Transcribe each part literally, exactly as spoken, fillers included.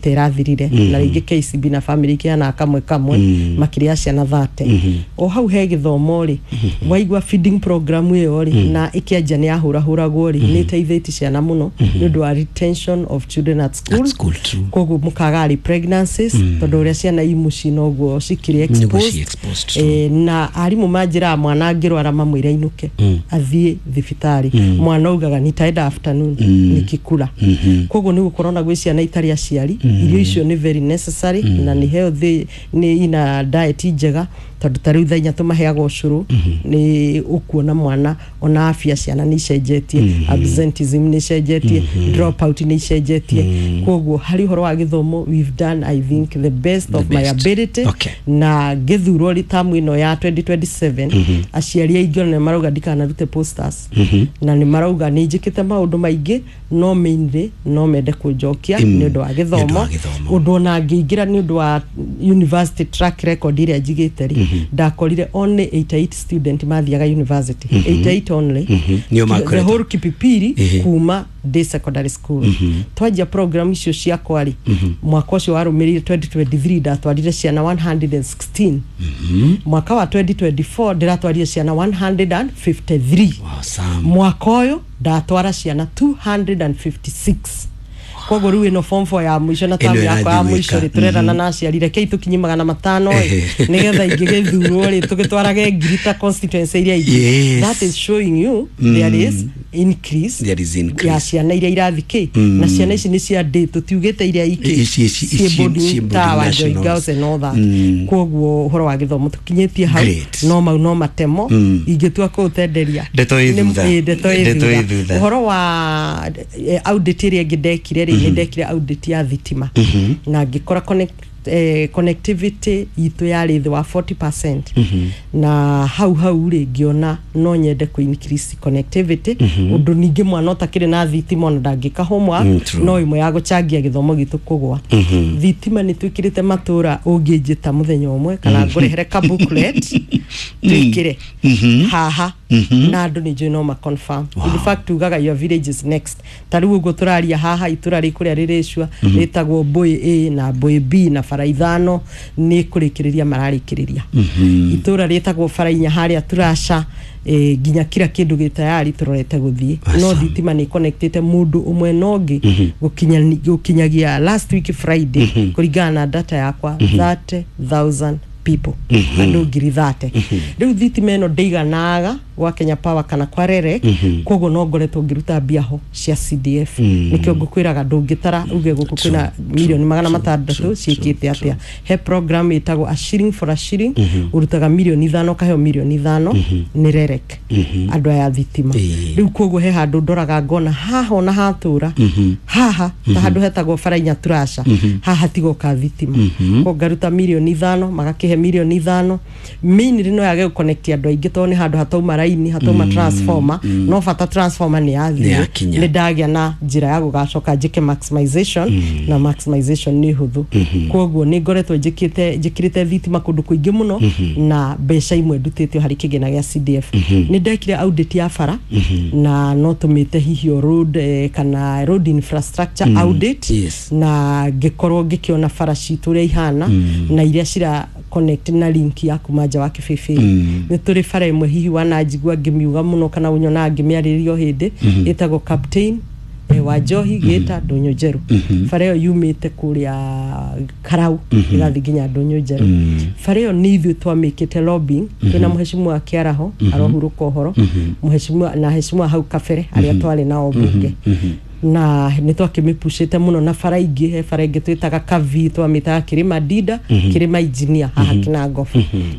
Ĩrathirire na rĩngĩ K C B na family ikĩheana kamwe kamwe makĩria ciana thate. O hau he gĩthomo rĩ, waigua feeding program ĩyo rĩ, na ĩkĩanjia nĩ yahũrahũragwo rĩ, nĩ ĩteithĩtie ciana mũno nĩ ũndũ wa retention of children at school. At school, true. Koguo mũkaga early pregnancies, tondũ ũrĩa ciana i mũciĩ noguo cikĩrĩ Nĩguo ci exposed. Exposed, true. Eh, na arimũ manjĩraga mwana angĩrwara mamwĩre ainũke athiĩ thibitarĩ. Mwana augaga nitaenda afternoon nikikula. Koguo nĩ gũkorwo na gwĩ ciana itarĩ aciari, irio icio nĩ very necessary na nĩ healthy, nĩ ina diet njega, tondũ ta rĩu thaa inya tũmaheaga ũcũrũ. Nĩ ũkuona mwana ona afya ciana nĩ icenjetie, absenteeism nĩ icenjetie, drop out nĩ icenjetie. Koguo harĩ ũhoro wa gĩthomo, we've done, I think, the best of my best. ability. Okay. Na ngĩthurwo rĩ, tamu ĩno ya twenty twenty-seven, aciari aingĩ ona nĩ marauga ndikanarute posters, na nĩ marauga nĩ njĩkĩte maũndũ maingĩ, no mainly no mende kũnjokia Mm. nĩ ũndũ wa Nĩ ũndũ gĩthomo. wa gĩthomo. Ũndũ ona ngĩingĩra nĩ ũndũ wa university track record ĩrĩa njigĩte rĩ, ndakorire only eighty-eight student mathiaga university, eighty-eight only. Nĩo The makoretwo. whole Kipipiri. Ehe. Kuma day secondary school twanjia program icio ciakwa rĩ, mwaka ũcio warũmĩrĩire twenty twenty-three ndatwarire ciana one hundred sixteen. Mwaka wa twenty twenty-four ndĩratwarire ciana one hundred fifty-three. Awesome. Mwaka ũyũ ndatwara ciana two hundred fifty-six. Koguo rĩu ĩno form four ya mũico na Ĩno tamu yakwa ya ĩrathiĩ mũico gwĩka. rĩ, tũrerana na aciari rekei tũkinye magana matano ĩ, nĩgetha ingĩgĩthurwo rĩ, tũgĩtwarage ngiri ta constituency iria ingĩ. Yes. That is showing you there is increase. There is increase. Ya ciana iria irathi kĩ, na ciana ici nĩ cia ndĩ, tũtiugĩte iria ingĩ Ici- ici- ciĩ ici- boarding ciĩ boarding ta wa Joy nationals. Girls and all that. Koguo ũhoro wa gĩthomo tũkinyĩtie hau. Great. No mau no matemo ingĩtua kũũtenderia. Ndeto ĩ Nĩ- thutha. ĩ, ndeto ĩ Ndeto ĩ thutha. thutha. Ũhoro wa eh, audit ĩrĩa ĩngĩ ndekire rĩ, nĩ ndekire audit ya thitima na ngĩkora connect eh, connectivity itũ yarĩ thĩ wa forty percent. Na hau hau rĩ, ngĩona no nyende kũ increase connectivity, ũndũ ningĩ mwana ũtakĩrĩ na thitima ona ndangĩka homework. Mm, true. No ĩmwe ya gũchangia gĩthomo gitũ kũgwa. Thitima nĩ twĩkĩrĩte matũra, ũngĩnjĩta mũthenya ũmwe kana ngũrehere ka booklet twĩkĩre haha na andũ nĩ njũĩ no ma confirm. In fact, tugaga your village is next. Ta rĩu ũguo tũraria haha, itũra rĩ kũrĩa rĩrĩcua rĩtagwo Mbũĩ A na Mbũĩ B na bara ithano nĩ kũrĩkĩrĩria mararĩkĩrĩria. Itũra rĩtagwo bara inya harĩa Turasha, eh, nginya kila kĩndũ gĩ tayari tũrorete gũthiĩ no thitima nĩ connectĩte mũndũ ũmwe na ũngĩ gũkinya- gũkinyagia last week Friday, kũringana na data yakwa, thirty thousand people, andũ ngiri thate. Rĩu thitima ĩno ndĩiganaga gwa Kenya Power kana kwa REREC, koguo no ngoretwo ngĩruta mbia ho cia C D F. Nĩkĩo ngũkwĩraga ndũngĩtara uge gũkũ kwĩna milioni magana matandatũ ciĩkĩte atĩa. He program ĩtagwo a shilling for a shilling, ũrutaga milioni ithano ũkaheo milioni ithano nĩ REREC, andũ aya a thitima. Ĩĩ. Rĩu koguo he handũ ndoraga ngona haha ona hatũra haha ta handũ hetagwo bara inya Turasha, haha tigoka thitima, ko ngaruta milioni ithano magakĩhe milioni ithano. Mainly no yage gũconnect andũ aingĩ tondũ nĩ handũ hatauma raini, hatauma transformer, no bata transformer nĩ Nĩ yathiĩ. yakinya. Nĩ ndagĩa na njĩra ya gũgacoka njĩke maximization, na maximization nĩ hũthũ. Koguo nĩ ngoretwo njĩkĩte njĩkĩrĩte thitima kũndũ kũingĩ mũno na mbeca imwe ndutĩte harĩ kĩgĩna gĩa C D F. Nĩ ndekire audit ya bara na no tũmĩte hihi o road, eh, kana road infrastructure audit. Yes. Na ngĩkorwo ngĩkĩona bara citũ ũrĩa ihana na iria cira connect na link ya kuma nja wa kĩbĩbĩ. Nĩ tũrĩ bara ĩmwe hihi wananjigua ngĩmiuga mũno kana ũnyonaga ngĩmĩarĩrĩria o hĩndĩ, ĩtagwo Captain eh, wa Njohi gĩta Ndũnyũ Njerũ. Bara ĩyo yumĩte kũrĩa Karau ĩgathiĩ nginya Ndũnyũ Njerũ. Bara ĩyo nĩ ithuĩ twamĩkĩte lobbying twĩna mũhecimiwa Kĩaraho arohurũka ũhoro, mũhecimiwa na hecimiwa hau kabere arĩa twarĩ nao mbunge, na nĩ twakĩmĩpucĩte mũno. Na bara ingĩ, he bara ĩngĩ twĩtaga Kavi, twamĩtaga Kĩrĩma Ndinda, Kĩrĩma Engineer haha Kinangobu.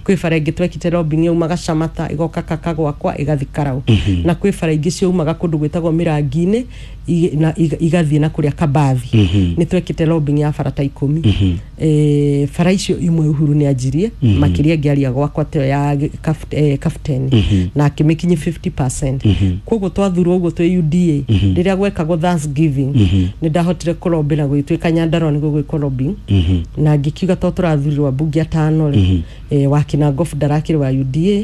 Kwĩ bara ĩngĩ twekite lobbying yaumaga Camata ĩgoka Kaka gwakwa ĩgathiĩ Karau, na kwĩ bara ingĩ ciaumaga kũndũ gwĩtagwo Mĩrangi-inĩ ig- na iga- igathiĩ na kũrĩa Kabathi. Nĩ twekite lobbying ya bara ta ikũmi. Eh, bara icio imwe Uhuru nĩ anjirie makĩria ngĩaria gwakwa teyo ya kaf- eh, Captain na akĩmĩkinyia fifty percent. Koguo twathurwo ũguo twĩ U D A, rĩrĩa gwekagwo Thanksgiving, nĩ ndahotire kũlobby na gũgĩtuĩka Nyandarua nĩguo gwĩkwo lobbying, na ngĩkiuga to tũrathurirwo ambunge atano rĩ, eh, wa Kinangofu ndarakĩrĩ wa U D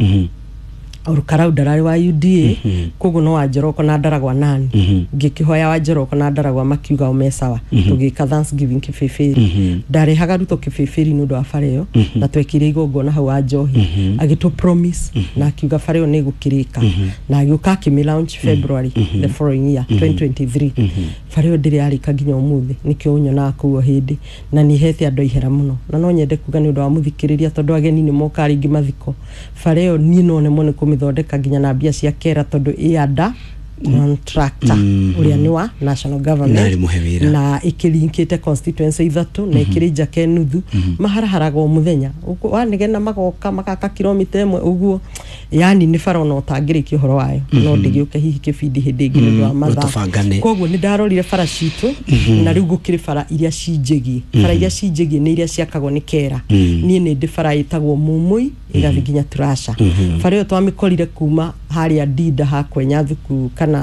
A. Karau ndararĩ wa U D A, koguo no Wanjoroko na Ndaragwa nani ngĩkĩhoya Wanjoroko na Ndaragwa makiuga o me sawa. Tũgĩka Thanksgiving Kĩbĩbĩri, ndarehaga Ruto Kĩbĩbĩri nĩ ũndũ wa bara ĩyo, na twekire igongona hau wa njohi, agĩtũ promise na akiuga bara ĩyo nĩ ĩgũkĩrĩka, na agĩũka akĩmĩ launch February the following year, twenty twenty-three. Bara ĩyo ndĩrĩ yarĩka nginya ũmũthĩ, nĩkĩo ũnyonaga kũu o hĩndĩ, na nĩ hete andũ ihera mũno. Na no nyende kuga nĩ ũndũ wa mũthikĩrĩria, tondũ ageni nĩ moka rĩngĩ mathiko, bara ĩyo niĩ no nemwo nĩ kũmĩthondeka nginya na mbia cia kera, tondũ ĩ under contractor ũrĩa nĩ wa national government. Na arĩ mũhe wĩra. Na ĩkĩlinkĩte constituency ithatũ na ĩkĩrĩ njake nuthu, maharaharaga o mũthenya. Ũguo wanegena magoka magaka kilomita ĩmwe ũguo, yani nĩ bara ona ũtangĩrĩkia ũhoro wayo, no ndĩgĩũke hihi kĩbindi hĩndĩ ĩngĩ nĩ ũndũ wa mathaa. Tũbangane. Koguo nĩ ndarorire bara citũ, na rĩu gũkĩrĩ bara iria cinjĩgie. Bara iria cinjĩgie nĩ iria ciakagwo nĩ kera. Niĩ nĩ ndĩ bara ĩtagwo Mumui ĩgathiĩ nginya Turasha. Bara ĩyo twamĩkorire kuma harĩa Ndinda hakwenya thuku kana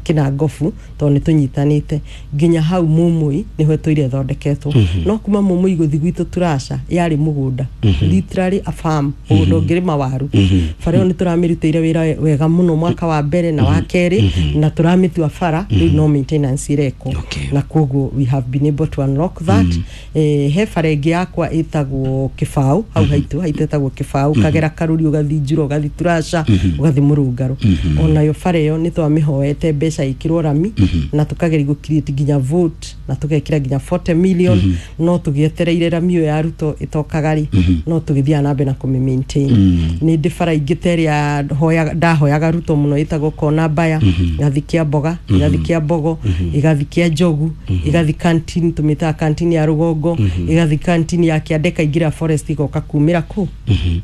Kĩnangobu, tondũ nĩ tũnyitanĩte nginya hau Mumui nĩho ĩtũire ĩthondeketwo. No kuma Mumui gũthiĩ gwitũ Turasha yarĩ mũgũnda, literally a farm, mũgũnda ũngĩrĩma waru. Bara ĩyo nĩ tũramĩrutĩire wĩra wega mũno mwaka wa mbere na wa kerĩ, na tũramĩtua bara rĩu no maintenance ĩrekwo. Okay. Na koguo we have been able to unlock that. eh, he bara ĩngĩ yakwa ĩtagwo Kĩbaũ, hau haitũ haitũ ĩtagwo Kĩbaũ, kagera Karũri, ũgathiĩ Njura, ũgathiĩ Turasha, ũgathiĩ Mũrũngarũ. Onayo bara ĩyo nĩ twamĩhoete mbeca ĩkĩrwo rami, na tũkageria gũ create nginya vote na tũgekĩra nginya forty million, no tũgĩetereire rami ĩyo ya Ruto ĩtokaga rĩ, no tũgĩthiaga na mbere na kũmĩ maintain. Nĩ ndĩ bara ingĩ ta ĩrĩa hoyaga- ndahoyaga Ruto mũno, ĩtagwo Kona Mbaya, ĩgathiĩ kĩa Mboga, ĩgathiĩ kĩa Mbogo, ĩgathiĩ kĩa Njogu, ĩgathiĩ canteen, tũmĩtaga canteen ya Rũgongo, ĩgathiĩ canteen ya Kĩande, ĩkaingĩra forest, ĩgoka kumĩra kũ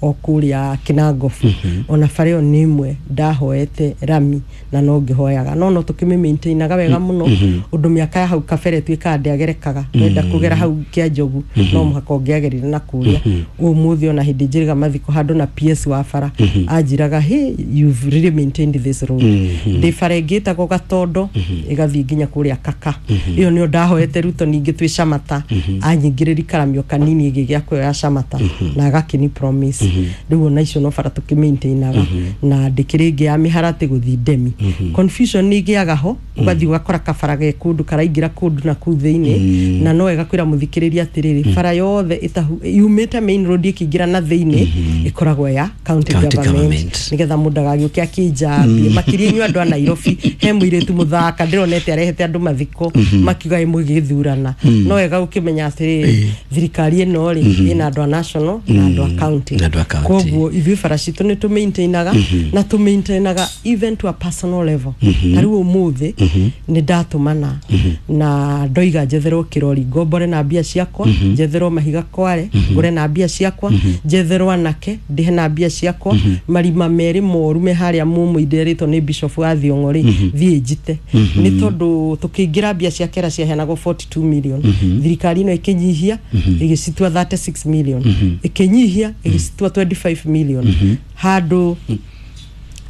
o kũrĩa Kĩnangobu. Ona bara ĩyo nĩ ĩmwe ndahoete rami na no ngĩhoyaga, no no tũkĩmĩ maintainaga wega mũno, ũndũ mĩaka ya hau kabere tuĩkaga ndĩagerekaga. Wenda kũgera hau kĩa Njogu no mũhaka ũngĩagerire na kũrĩa. Ũmũthĩ ona hĩndĩ njĩrĩga mathiko handũ na P S wa bara anjĩraga, "Hey, you've really maintained this road." Ndĩ bara ĩngĩ ĩtagwo Gatondo, ĩgathiĩ nginya kũrĩa Kaka. Ĩyo nĩyo ndahoete Ruto ningĩ twĩ Camata, anyingĩrĩri karamio kanini ĩgĩ gĩa kuoya Camata na agakĩni promise. Rĩu ona icio no bara tũkĩ-maintainaga. Na ndĩkĩrĩ ĩngĩ ya mĩharatĩ gũthiĩ Ndemi. Confusion nĩ ĩgĩaga ho, ũgathiĩ ũgakora kabara ge kũndũ karaingĩra kũndũ na kũu thĩinĩ. Na no wega kwĩra mũthikĩrĩria atĩrĩrĩ, bara yothe ĩtahu yumĩte main road ĩkĩingĩra na thĩinĩ ĩkoragwo ya county County government, government. Nĩgetha mũndũ agagĩũke akĩnjambie, makĩria inyuĩ andũ a Nairobi. He mũirĩtu mũthaka ndĩronete arehete andũ mathiko makiuga ĩ mũgĩthurana. No wega gũkĩmenya atĩrĩrĩ, thirikari ĩno rĩ ĩna andũ a national na andũ a county. Na andũ a county. Koguo ithuĩ bara citũ nĩ tũmaintainaga, na tũmaintainaga even to a personal level. Ta rĩu ũmũthĩ nĩ ndatũmana na ndoiga njetherwo kĩrori ngombore na mbia ciakwa, njetherwo mahiga kware ngũre na mbia ciakwa, njetherwo anake ndĩhe na mbia ciakwa, marima merĩ moru me harĩa mũmũ nderĩtwo nĩ bishop wa Thiong'o rĩ thiĩ njite, nĩ tondũ tũkĩingĩra mbia cia kera ciaheanagwo forty-two million, thirikari ĩno ĩkĩnyihia ĩgĩcitua thirty-six million, ĩkĩnyihia ĩgĩcitua twenty-five million. Handũ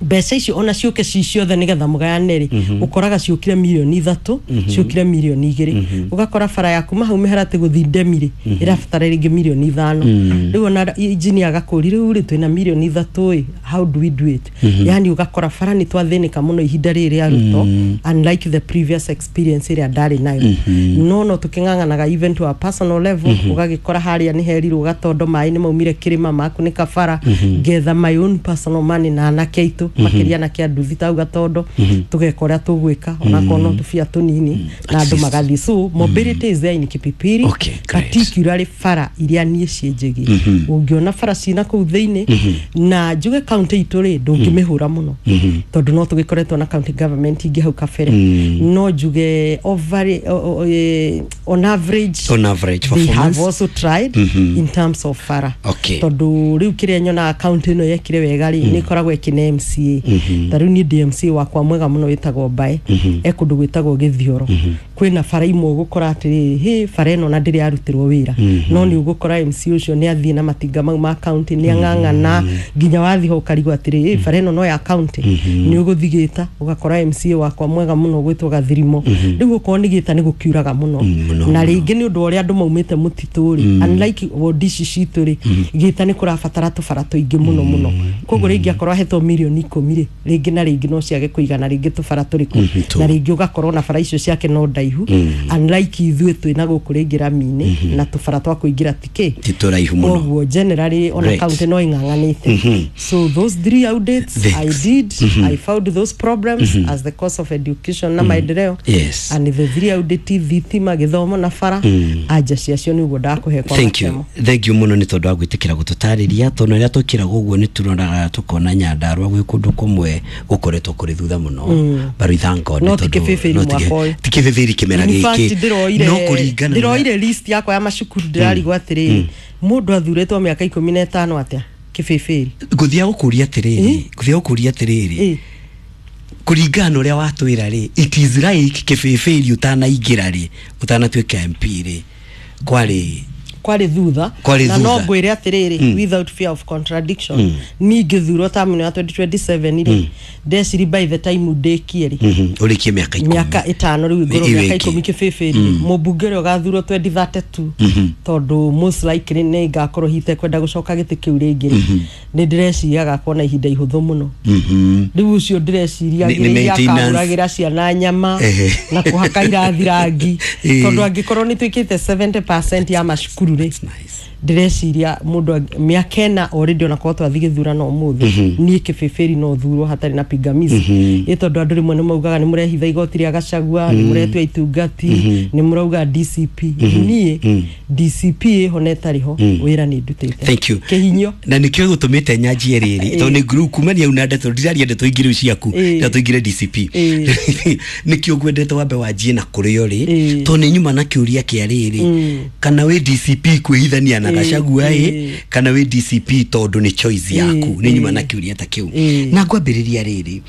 mbeca icio ona ciũke ci ciothe nĩgetha mũgayane rĩ, ũkoraga ciũkire mirioni ithatũ, ciũkire mirioni igĩrĩ. Ũgakora bara ya kuma hau mĩharatĩ gũthiĩ Ndemi rĩ ĩrabatara rĩngĩ mirioni ithano. Rĩu ona injinia agakũri rĩu rĩ twĩna mirioni ithatũ ĩ, how do we do it? Yani ũgakora bara nĩ twathĩnĩka mũno ihinda rĩrĩ rĩa Ruto, unlike the previous experience ĩrĩa ndarĩ nayo. no no tũkĩng'ang'anaga even to a personal level. Ũgagĩkora harĩa nĩ herirwo Gatondo maĩ nĩ maumire kĩrĩma makunĩka bara, ngetha my own personal money na anake aitũ, makĩria anake a nduthi tau Gatondo, tũgeka ũrĩa tũgwĩka onakorwo no tũbia tũnini na andũ magathiĩ. So mobility is there in Kipipiri. Okay, great. Particularly bara iria niĩ ciĩnjĩgie. Ũngĩona bara cina kũu thĩinĩ na njuge county itũ rĩ ndũngĩmĩhũra mũno, tondũ no tũgĩkoretwo na county government ingĩ hau kabere, no njuge over, o, o, eh, on average, On average they have performance. also tried in terms of bara. Okay. Tondũ rĩu kĩrĩa nyonaga county ĩno yekire wega rĩ, nĩ ĩkoragwo ĩkĩne M C A. Ta rĩu niĩ ndĩ M C A wakwa mwega mũno wĩtagwo Mbae, e kũndũ gwĩtagwo Gĩthioro. Kwĩna bara imwe ũgũkora atĩrĩrĩ, hĩ, bara ĩno na ndĩrĩ yarutirwo wĩra, no nĩ ũgũkora M C ũcio nĩ athiĩ na matinga mau ma county, nĩ ang'ang'ana nginya wathiĩ ho ũkarigwo atĩrĩ, ĩ, bara ĩno no ya county. Nĩ ũgũthiĩ Gĩta ũgakora M C A wakwa mwega mũno gwĩtwo Gathirimo. Rĩu okorwo nĩ Gĩta nĩ gũkiuraga mũno, Mũno. Na rĩngĩ nĩ ũndũ wa ũrĩa andũ maumĩte mũtitũ rĩ, unlike wodi ici citũ rĩ, Gĩta nĩ kũrabatara tũbara tũingĩ mũno mũno. Koguo rĩngĩ akorwo ahetwo mirioni ikũmi rĩ, rĩngĩ na rĩngĩ no ciage kũigana rĩngĩ tũbara tũrĩkũ, tu. Na rĩngĩ ũgakorwo na bara icio ciake no ndaihu, unlike ithuĩ twĩna gũkũ rĩngĩ rami-inĩ na tũbara twa kũingĩra tikĩ Ti tũraihu mũno. Koguo generally ona Great. county no ing'ang'anĩte. So those three audits I Thanks. did, I found those problems as the cost of education na maendeleo. Yes. And the three audit, thitima, gĩthomo na bara, anja ciacio nĩ ũguo ndakũhe kwa Thank you. matemo. Thank you muno nĩ tondũ wa gwĩtĩkĩra gũtũtarĩria, tondũ rĩrĩa tũkĩraga ũguo nĩ turoraga tũkona Nyandarua gwĩ kũndũ kũmwe gũkoretwo kũrĩ thutha mũno, but we thank God No nĩ ti tondũ- Kĩbĩbĩri no ti mwaka ũyũ. ti Kĩbĩbĩri kĩmera In fact, gĩkĩ ndĩroire no kũringana na- ndĩroire list yakwa ya macukuru, ndĩrarigwo atĩrĩrĩ, mũndũ athurĩtwo mĩaka ikũmi na ĩtano atĩa Kĩbĩbĩri? Ngũthiaga gũkũria atĩrĩrĩ, ngũthiaga gũkũria atĩrĩrĩ, Ĩ. Kũringana na ũrĩa watwĩra rĩ, it is like Kĩbĩbĩri ũtanaingĩra rĩ, ũtanatuĩka M P rĩ, kwarĩ Kwarĩ thutha. Kwarĩ Na no thutha. ngwĩre atĩrĩrĩ, without fear of contradiction, niĩ ngĩthurwo term ĩno ya twenty twenty-seven rĩ, ndeciri by the time ndĩkie rĩ, Mhm, ũrĩkie mĩaka ikũmi. Mĩaka ĩtano rĩu ngorwo Ĩ- mĩaka ĩwĩke. ikũmi Kĩbĩbĩri, mũmbunge ũrĩa ũgathurwo twenty thirty-two, tondũ most likely nĩ ngakorwo hite kwenda gũcoka gĩtĩ kĩu rĩngĩ rĩ, nĩ ndĩreciria agakorwo na ihinda ihũthũ mũno. Mhm. Rĩu ũcio ndĩreciria Nĩ- nĩ agĩrĩire maintenance. akagũragĩra ciana nyama Ehe. na kũhaka irathi rangi, Ĩ. tondũ angĩkorwo nĩ twĩkĩte seventy percent ya macukuru rĩ, Nice. ndĩreciria mũndũ ang- mĩaka ĩna already, onakorwo twathiĩ gĩthurano ũmũthĩ, niĩ Kĩbĩbĩri no thurwo hatarĩ na pingamizi, ĩ tondũ andũ rĩmwe nĩ maugaga nĩ mũrehitha igoti rĩa Gachagua, nĩ mũretua itungati, nĩ mũrauga D C P. Niĩ D C P ĩho na ĩtarĩ ho, wĩra nĩ ndutĩte. Thank you. Kĩhinyo. Na nĩkĩo gũtũmĩte nyanjie rĩrĩ, tondũ nĩ nguru kumania au na ndeto, ndiraria ndeto ingĩ rĩu ciaku, Ĩ. na tũingĩre D C P. Ĩ. Nĩkĩo ngwendete wambe wanjie na kũrĩa ũrĩ, Ĩ. tondũ nĩ nyuma na kĩũria kĩa rĩrĩ, kana wĩ D C P kwĩhithania na Ĩ. Gachagua ĩ, Ĩ. kana wĩ D C P tondũ nĩ choice yaku. Nĩ nyuma na kĩũria ta kĩu. Ĩ. Na ngwambĩrĩria rĩrĩ,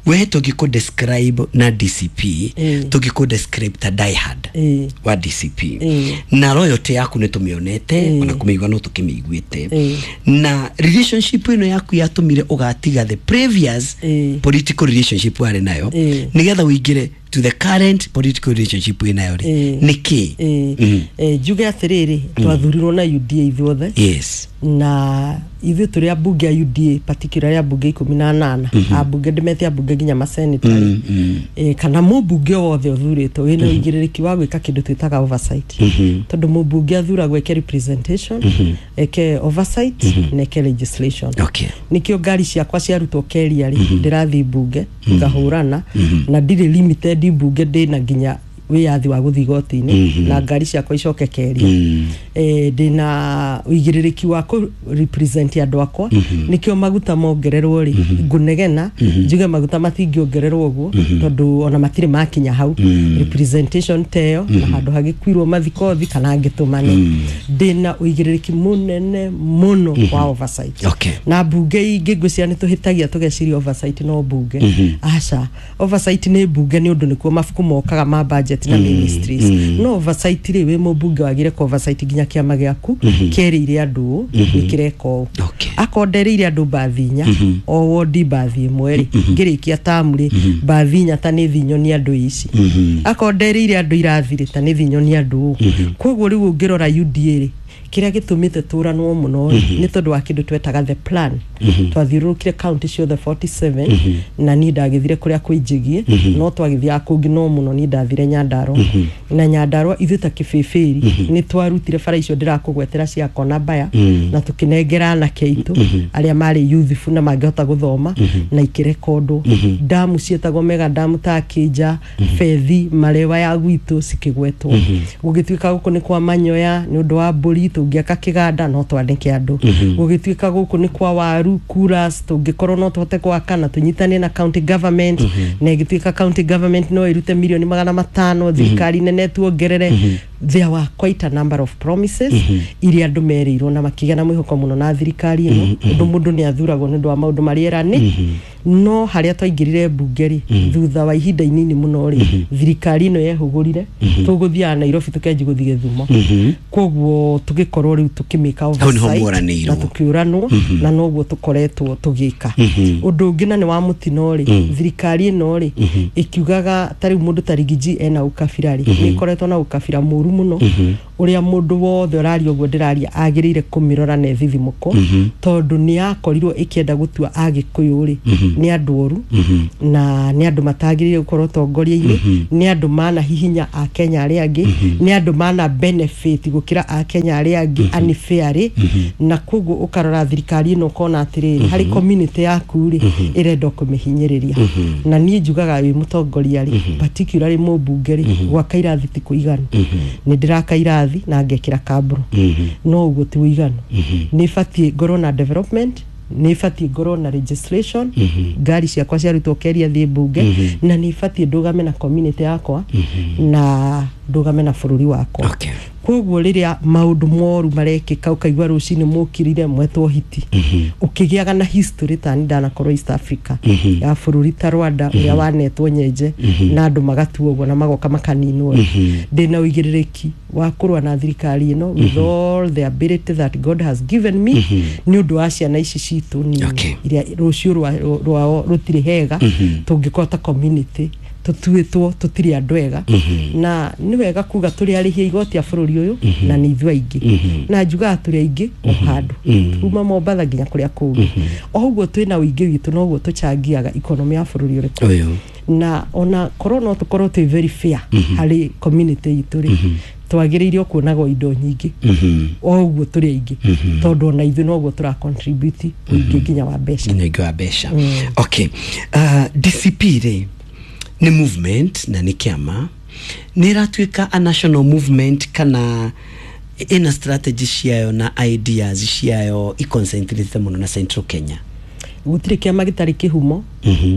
we tũngĩkũ describe na D C P, Ĩ. tũngĩkũ describe ta diehard Ĩ. wa D C P, Ĩ. na loyalty yaku nĩ tũmĩonete, Ĩ. ona kũmĩigua no tũkĩmĩiguĩte. Ĩ. Na relationship ĩno yaku yatũmire ũgatiga the previous Ĩ. political relationship warĩ nayo Ĩ. nĩgetha ũingĩre to the current political relationship wĩ nayo rĩ, Ĩ. nĩ kĩ? Ĩ. Mhm. Eh, njuge atĩrĩrĩ, twathurirwo na U D A ithuothe, yes na ithuĩ tũrĩ ambunge a U D A, particularly ambunge ikũmi na anana, ambunge ndĩmete ambunge nginya maseneta rĩ, eh, kana mũmbunge o wothe ũthurĩtwo wĩna ũigĩrĩrĩki wa gwĩka kĩndũ twĩtaga oversight, tondũ mũmbunge athuragwo eke representation, eke oversight na eke legislation. Okay Nikĩo ngari ciakwa ciarutwo keria rĩ, ndĩrathiĩ mbunge ngahũrana, na ndirĩ limited mbunge, ndĩna nginya wĩyathi wa gũthiĩ igoti-inĩ na ngari ciakwa icoke keria. eh, ndĩna ũigĩrĩrĩki wa kũ represent andũ akwa. Nĩkĩo maguta mongererwo rĩ, ngũnegena njuge maguta matingĩongererwo ũguo, tondũ ona matirĩ makinya hau. Representation teyo na handũ hagĩkuirwo mathikothi kana ngĩtũmane, ndĩna ũigĩrĩrĩki mũnene mũno wa oversight. Okay. Na mbunge ingĩ ngwĩciria nĩ tũhĩtagia tũgeciria oversight no mbunge. Aca, oversight nĩ mbunge nĩ ũndũ nĩkuo mabuku mokaga ma budget na ministries, no oversight rĩ, wĩ mũmbunge wagire kũ oversight nginya kĩama gĩaku kĩerĩire andũ ũũ nĩ kĩreka ũũ. Okay. Akorwo nderĩire andũ mbathi inya o wondi, mbathi ĩmwe rĩ, ngĩrĩkia tamu rĩ, mbathi inya ta nĩ thi nyonie andũ ici. Akorwo nderĩire andũ irathi rĩ, ta nĩ thi nyonie andũ ũũ. Koguo rĩu ũngĩrora U D A rĩ, kĩrĩa gĩtũmĩte tũranwo mũno rĩ, nĩ tondũ wa kĩndũ twetaga the plan. Twathiũrũrũkire county ciothe mĩrongo ĩnana na mũgwanja, na niĩ ndagĩthire kũrĩa kwĩ Njĩgiĩ, no twagĩthiaga kũngĩ, no mũno niĩ ndathire Nyandarua. Na Nyandarua ithuĩ ta Kĩbĩbĩri nĩ twarutire bara icio ndĩrakũgwetera cia Kona Mbaya, na tũkĩnengera anake aitũ arĩa marĩ youthful na mangĩhota gũthoma, na ikĩrekondwo. Ndamu ciĩtagwo mega ndamu ta Kĩnja, Bethi, Marewa ya gwitũ cikĩgwetwo. Gũgĩtuĩka gũkũ nĩ kwa manyoya nĩ ũndũ wa mbũri, tũngĩaka kĩganda no twandĩke andũ. Gũgĩtuĩka gũkũ nĩ kwa waru kuras, tũngĩkorwo no tũhote gwaka na tũnyitane na county government, na ĩgĩtuĩka county government no ĩrute milioni magana matano, thirikari nene tuongerere. There were quite a number of promises iria andũ merĩirwo na makĩgĩa na mwĩhoko mũno na thirikari ĩno, ũndũ mũndũ nĩ athuragwo nĩ ũndũ wa maũndũ marĩa erani. No harĩa twaingĩrire mbunge rĩ, thutha wa ihinda inini mũno rĩ, thirikari ĩno yehũgũrire, tũgũthiaga Nairobi tũkenji gũthiĩ Gĩthumo. Koguo tũgĩkorwo rĩu tũkĩmĩka Hau nĩho oversight mworanĩirwo. na tũkĩũranwo, na noguo tũkoretwo tũgĩka. Ũndũ ũngĩ na nĩ wa mũtino rĩ, thirikari ĩno rĩ ĩkiugaga ta rĩu mũndũ ta Rigiji ena ũkabira rĩ, nĩ ĩkoretwo na ũkabira mũru mũno, ũrĩa mũndũ wothe ũraria ũguo ndĩraria agĩrĩire kũmĩrora na ĩthithimũkwo, tondũ nĩ yakorirwo ĩkĩenda gũtua Agĩkũyũ rĩ nĩ andũ oru na nĩ andũ matagĩrĩire gũkorwo ũtongoria-inĩ, nĩ andũ manahihinya Akenya arĩa angĩ, nĩ andũ mana benefit gũkĩra Akenya arĩa angĩ unfairly. Na koguo ũkarora thirikari ĩno ũkona atĩrĩrĩ, harĩ community yaku rĩ ĩrenda kũmĩhinyĩrĩria. Na niĩ njugaga wĩ mũtongoria rĩ, particularly mũmbunge rĩ, gwaka irathi ti kũiganu. Nĩ ndĩraka irathi na ngekĩra kambũro, no ũguo ti ũiganu. Nĩ batiĩ ngorwo na development, nĩ batiĩ ngorwo na legislation, ngari ciakwa ciarutwo keria thiĩ mbunge, na nĩ batiĩ ndũgame na community yakwa na ndũgame na bũrũri wakwa. Okay. Koguo rĩrĩa maũndũ moru marekĩka, ũkaigua rũcinĩ mũkirire mwetwo hiti, ũkĩgĩaga na history tani ndanakorwo East Africa ya bũrũri ta Rwanda ũrĩa wanetwo nyenje na andũ magatuo ũguo na magoka makaninwo rĩ, ndĩna ũigĩrĩrĩki wa kũrũa na thirikari ĩno with all the ability that God has given me, nĩ ũndũ wa ciana ici citũ nini Okay. iria rũciũ rwa- rwao rũtirĩ hega tũngĩkorwo ta community tũtuĩtwo tũtirĩ andũ ega. Na nĩ wega kuga tũrĩ arĩhi a igoti a bũrũri ũyũ, na nĩ ithuĩ aingĩ, na njugaga tũrĩ aingĩ o handũ kuma Mombatha nginya kũrĩa kũngĩ. O ũguo twĩna ũingĩ witũ, noguo tũchangiaga economy ya bũrũri ũrĩkũ. Ũyũ. Na ona korwo no tũkorwo twĩ very fair harĩ community itũ rĩ, twagĩrĩire o kuonagwo indo nyingĩ o ũguo tũrĩ aingĩ, tondũ ona ithuĩ noguo tũra contribute ũingĩ nginya wa mbeca. Nginya ũingĩ wa mbeca. Okay, uh, D C P rĩ nĩ movement na nĩ kĩama, nĩ ĩratuĩka a national movement kana ĩna strategy ciayo na ideas ciayo iconcentrate mũno na Central Kenya? Gũtirĩ kĩama gĩtarĩ kĩhumo,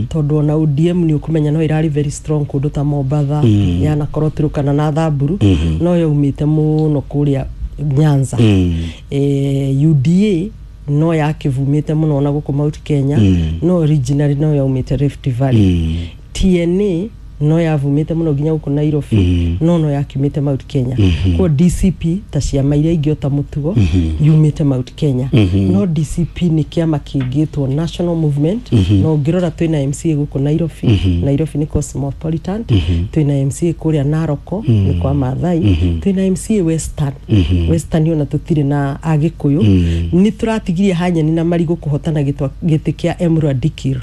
tondũ ona O D M nĩ ũkũmenya no ĩrarĩ very strong kũndũ ta Mombatha, yanakorwo Turukana na Thamburu, no yaumĩte mũno kũrĩa Nyanza. eh, U D A no yakĩvumĩte mũno ona gũkũ Mount Kenya, no originally no yaumĩte Rift Valley. T N A no yavumĩte mũno nginya gũkũ Nairobi, no no yakiumĩte Mount Kenya. Koguo D C P ta ciama iria ingĩ ota mũtugo yumĩte Mount Kenya, no D C P nĩ kĩama kĩngĩtwo national movement. No ũngĩrora twĩna M C A gũkũ Nairobi, Nairobi nĩ cosmopolitan, twĩna M C A kũrĩa Naroko nĩ kwa Maathai, twĩna M C A Western. Western ona tũtirĩ na Agĩkũyũ. Nĩ tũratigirie hanyeni na marigũ kũhotana gĩtwa- gĩtĩ kĩa Emurua Dikirr,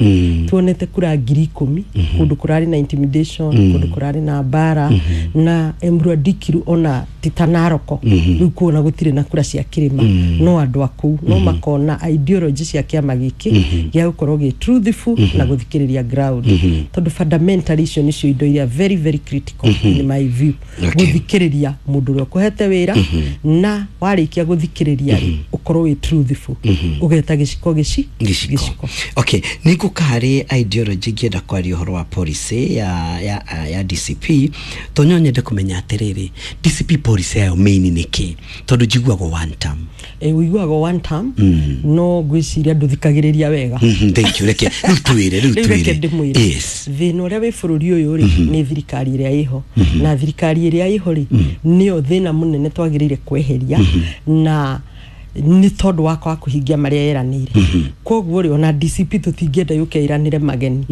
tuonete kura ngiri ikũmi kũndũ kũrarĩ na intimidation, kũndũ kũrarĩ na mbara, na Emurua Dikirr ona ti ta Naroko rĩu kuona gũtirĩ na kura cia kĩrĩma, no andũ a kũu no makona ideology cia kĩama gĩkĩ gĩa gũkorwo gĩ truthful na gũthikĩrĩria ground, tondũ fundamentally icio nĩcio indo iria very very critical in my view. Okay. Gũthikĩrĩria mũndũ ũrĩa ũkũhete wĩra, na warĩkia gũthikĩrĩria rĩ, ũkorwo wĩ truthful, ũgeta gĩciko gĩci gĩciko. Okay, nĩ ngũka harĩ ideology, ngĩenda kwaria ũhoro wa policy ya, ya, ya D C P, tondũ no nyende kũmenya atĩrĩrĩ, D C P policy yayo main nĩ kĩ? Tondũ njiguagwo one term. E, ũiguaga one term, no ngwĩciria ndũthikagĩrĩria wega. Mhm, thank you. Reke rĩu twĩre, rĩu rĩu reke twĩre. Ndĩmwĩre. Yes. Thĩna ũrĩa wĩ bũrũri ũyũ rĩ nĩ thirikari ĩrĩa ĩho, na thirikari ĩrĩa ĩho rĩ nĩyo thĩna mũnene twagĩrĩire kweheria, na nĩ tondũ wa kwaga kũhingia marĩa yeranĩire. Koguo rĩ, ona D C P tũtingĩenda yũke ĩranĩre mageni.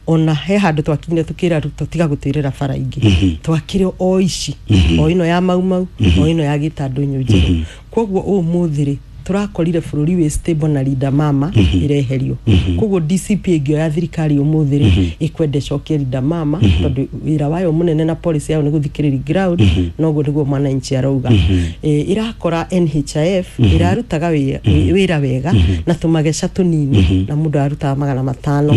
Ona he handũ twakinyire tũkĩra Ruto, tiga gũtwĩrĩra bara ingĩ, twakĩre o ici, o ĩno ya Mau Mau, o ĩno ya Gĩtandũ Njenga. Koguo ũmũthĩ rĩ tũrakorire bũrũri wĩ stable na Linda Mama ĩreherio. Koguo D C P ĩngĩoya thirikari ũmũthĩ rĩ, ĩkwenda ĩcokie Linda Mama, tondũ wĩra wayo mũnene na policy yayo nĩ gũthikĩrĩria ground. Noguo nĩguo mwananchi arauga. Eh, ĩrakora N H I F ĩrarutaga wĩ- wĩra wega na tũmageca tũnini, na mũndũ arutaga magana matano.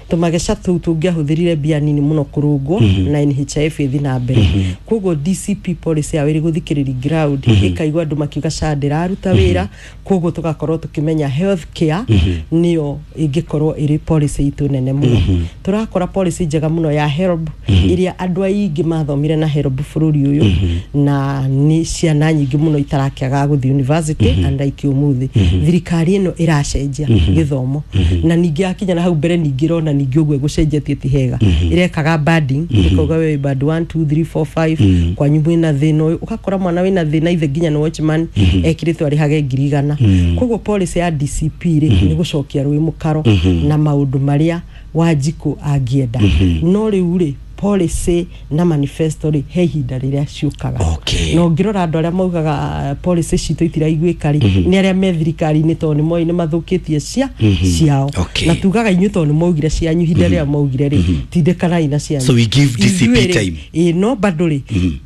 Tũmageca tũu tũngĩahũthĩrire mbia nini mũno kũrũngwo na N H I F ĩthi na mbere. Koguo D C P policy yao ĩrĩ gũthikĩrĩria ground, ĩkaigua andũ makiuga S H A ndĩraruta wĩra. Koguo tugakorwo tukimenya health care niyo ingikorwo iri policy itu nene muno. Turakora policy njega muno ya HELB, iria andu aingi mathomire na HELB bururi uyu, na ni ciana nyingi muno itarakiaga guthi university and like umuthi thirikari ino iracenjia githomo. Na ningi akinya na hau mbere ningi rona ningi uguo gucenjetie ti hega, irekaga banding, ikauga we band one two three four five, kwanyu mwina thina uyu, ugakora mwana wina thina ithe nginya ni watchman ekiritwo arihage ngiri igana. Koguo policy ya D C P ri ni gucokia rui mukaro na maundu maria Wanjiku angienda. No riu ri policy na manifesto ri he ihinda riria ciukaga. Okay. Na ũngĩrora andũ arĩa maugaga policy citũ itiraiguĩka rĩ, nĩ arĩa me thirikari-inĩ, tondũ nĩ moĩ nĩ mathũkĩtie cia ciao. Okay. Na tugaga inyuĩ tondũ nĩ maugire cianyu ihinda rĩrĩa maugire rĩ, tindĩkanai na cianyu. So we give D C P Ithuĩ rĩ, time. Ĩ, no bado rĩ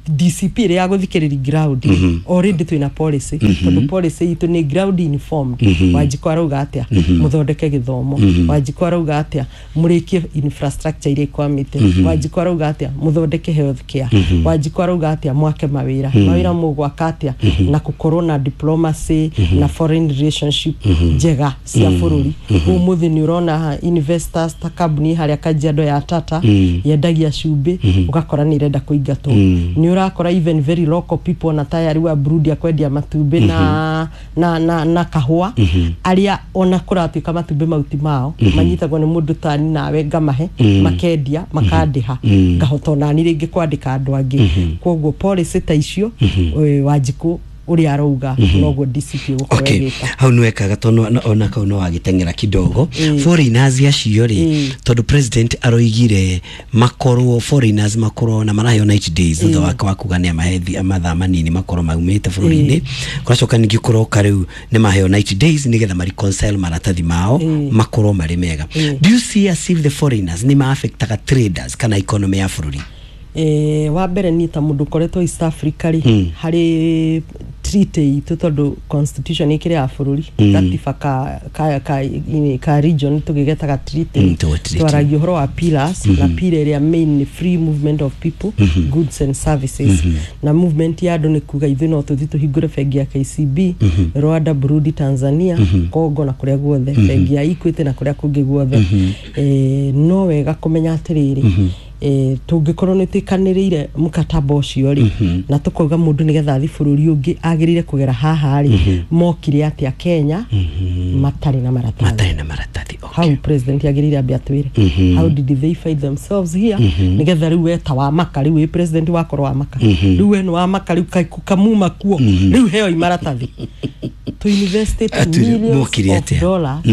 D C P ĩrĩa ya gũthikĩrĩria ground rĩ, already twĩna policy, tondũ policy itũ nĩ ground informed. Wanjikũ arauga atĩa mũthondeke gĩthomo? Wanjikũ arauga atĩa mũrĩkie infrastructure iria ikwamĩte? Wanjikũ arauga atĩa mũthondeke health care? Wanjikũ arauga atĩa mwake mawĩra? Mawĩra mũgwaka atĩa na gũkorwo na diplomacy na foreign relationship njega cia bũrũri? Ũmũthĩ nĩ ũrona investors ta kambuni harĩa Kajiado ya Tata yendagia cumbĩ, ũgakora nĩ irenda kũingatwo. Nĩ ũrakora even very local people na tayari wa Burundi akwendia matumbĩ na na na, na kahũa, arĩa ona kũratuĩka matumbĩ mau ti mao, manyitagwo nĩ mũndũ tani nawe ngamahe makendia makandĩha, ngahota onani rĩngĩ kwandĩka andũ angĩ. Koguo policy ta icio, eh, Wanjikũ ũrĩa arauga noguo D C P gũkorwo Okay. ĩgĩka. Hau nĩ wekaga tondũ ona kau no wagĩteng'era kidogo. Foreigners acio rĩ, Mm. tondũ president aroigire makorwo foreigners makorwo na maraheo ninety days thutha wake wa kuga nĩ amahe thi- mathaa manini makorwo maumĩte bũrũri-inĩ. Kũracoka ningĩ kũroka rĩu nĩ maheo ninety days nĩgetha ma reconcile maratathi mao makorwo marĩ mega. Do you see as if the foreigners nĩ ma-affectaga traders kana economy ya bũrũri? Eh, wa mbere niĩ ta mũndũ ũkoretwo East Africa rĩ, harĩ treaty itũ, tondũ constitution ĩkĩrĩ ya bũrũri, gatiba ka, ka, ka, ini- ka region tũgĩgetaga treaty. Mm, to treaty. Twaragia ũhoro wa pillars, na pillar ĩrĩa main nĩ free movement of people, goods and services. Na movement ya andũ nĩ kuga ithuĩ no tũthiĩ tũhingũre bengi ya K C B Rwanda, Burundi, Tanzania, Congo na kũrĩa guothe, bengi ya Equity na kũrĩa kũngĩ guothe. Eh, no wega kũmenya atĩrĩrĩ, eh, tũngĩkorwo nĩ twĩkanĩrĩire mũkataba ũcio rĩ, na tũkauga mũndũ nĩgetha athiĩ bũrũri ũngĩ agĩrĩire kũgera haha rĩ, mokire atĩa Kenya matarĩ na maratathi? Matarĩ na maratathi, okay. Hau president agĩrĩire ambe atwĩre how did they find themselves here, nĩgetha rĩu weta wa maka, rĩu wĩ president wakorwo wa maka, rĩu we nĩ wa maka, rĩu ka- kamuma kuo, rĩu heo maratathi to invest Atwĩre, millions mokire of atĩa? dollars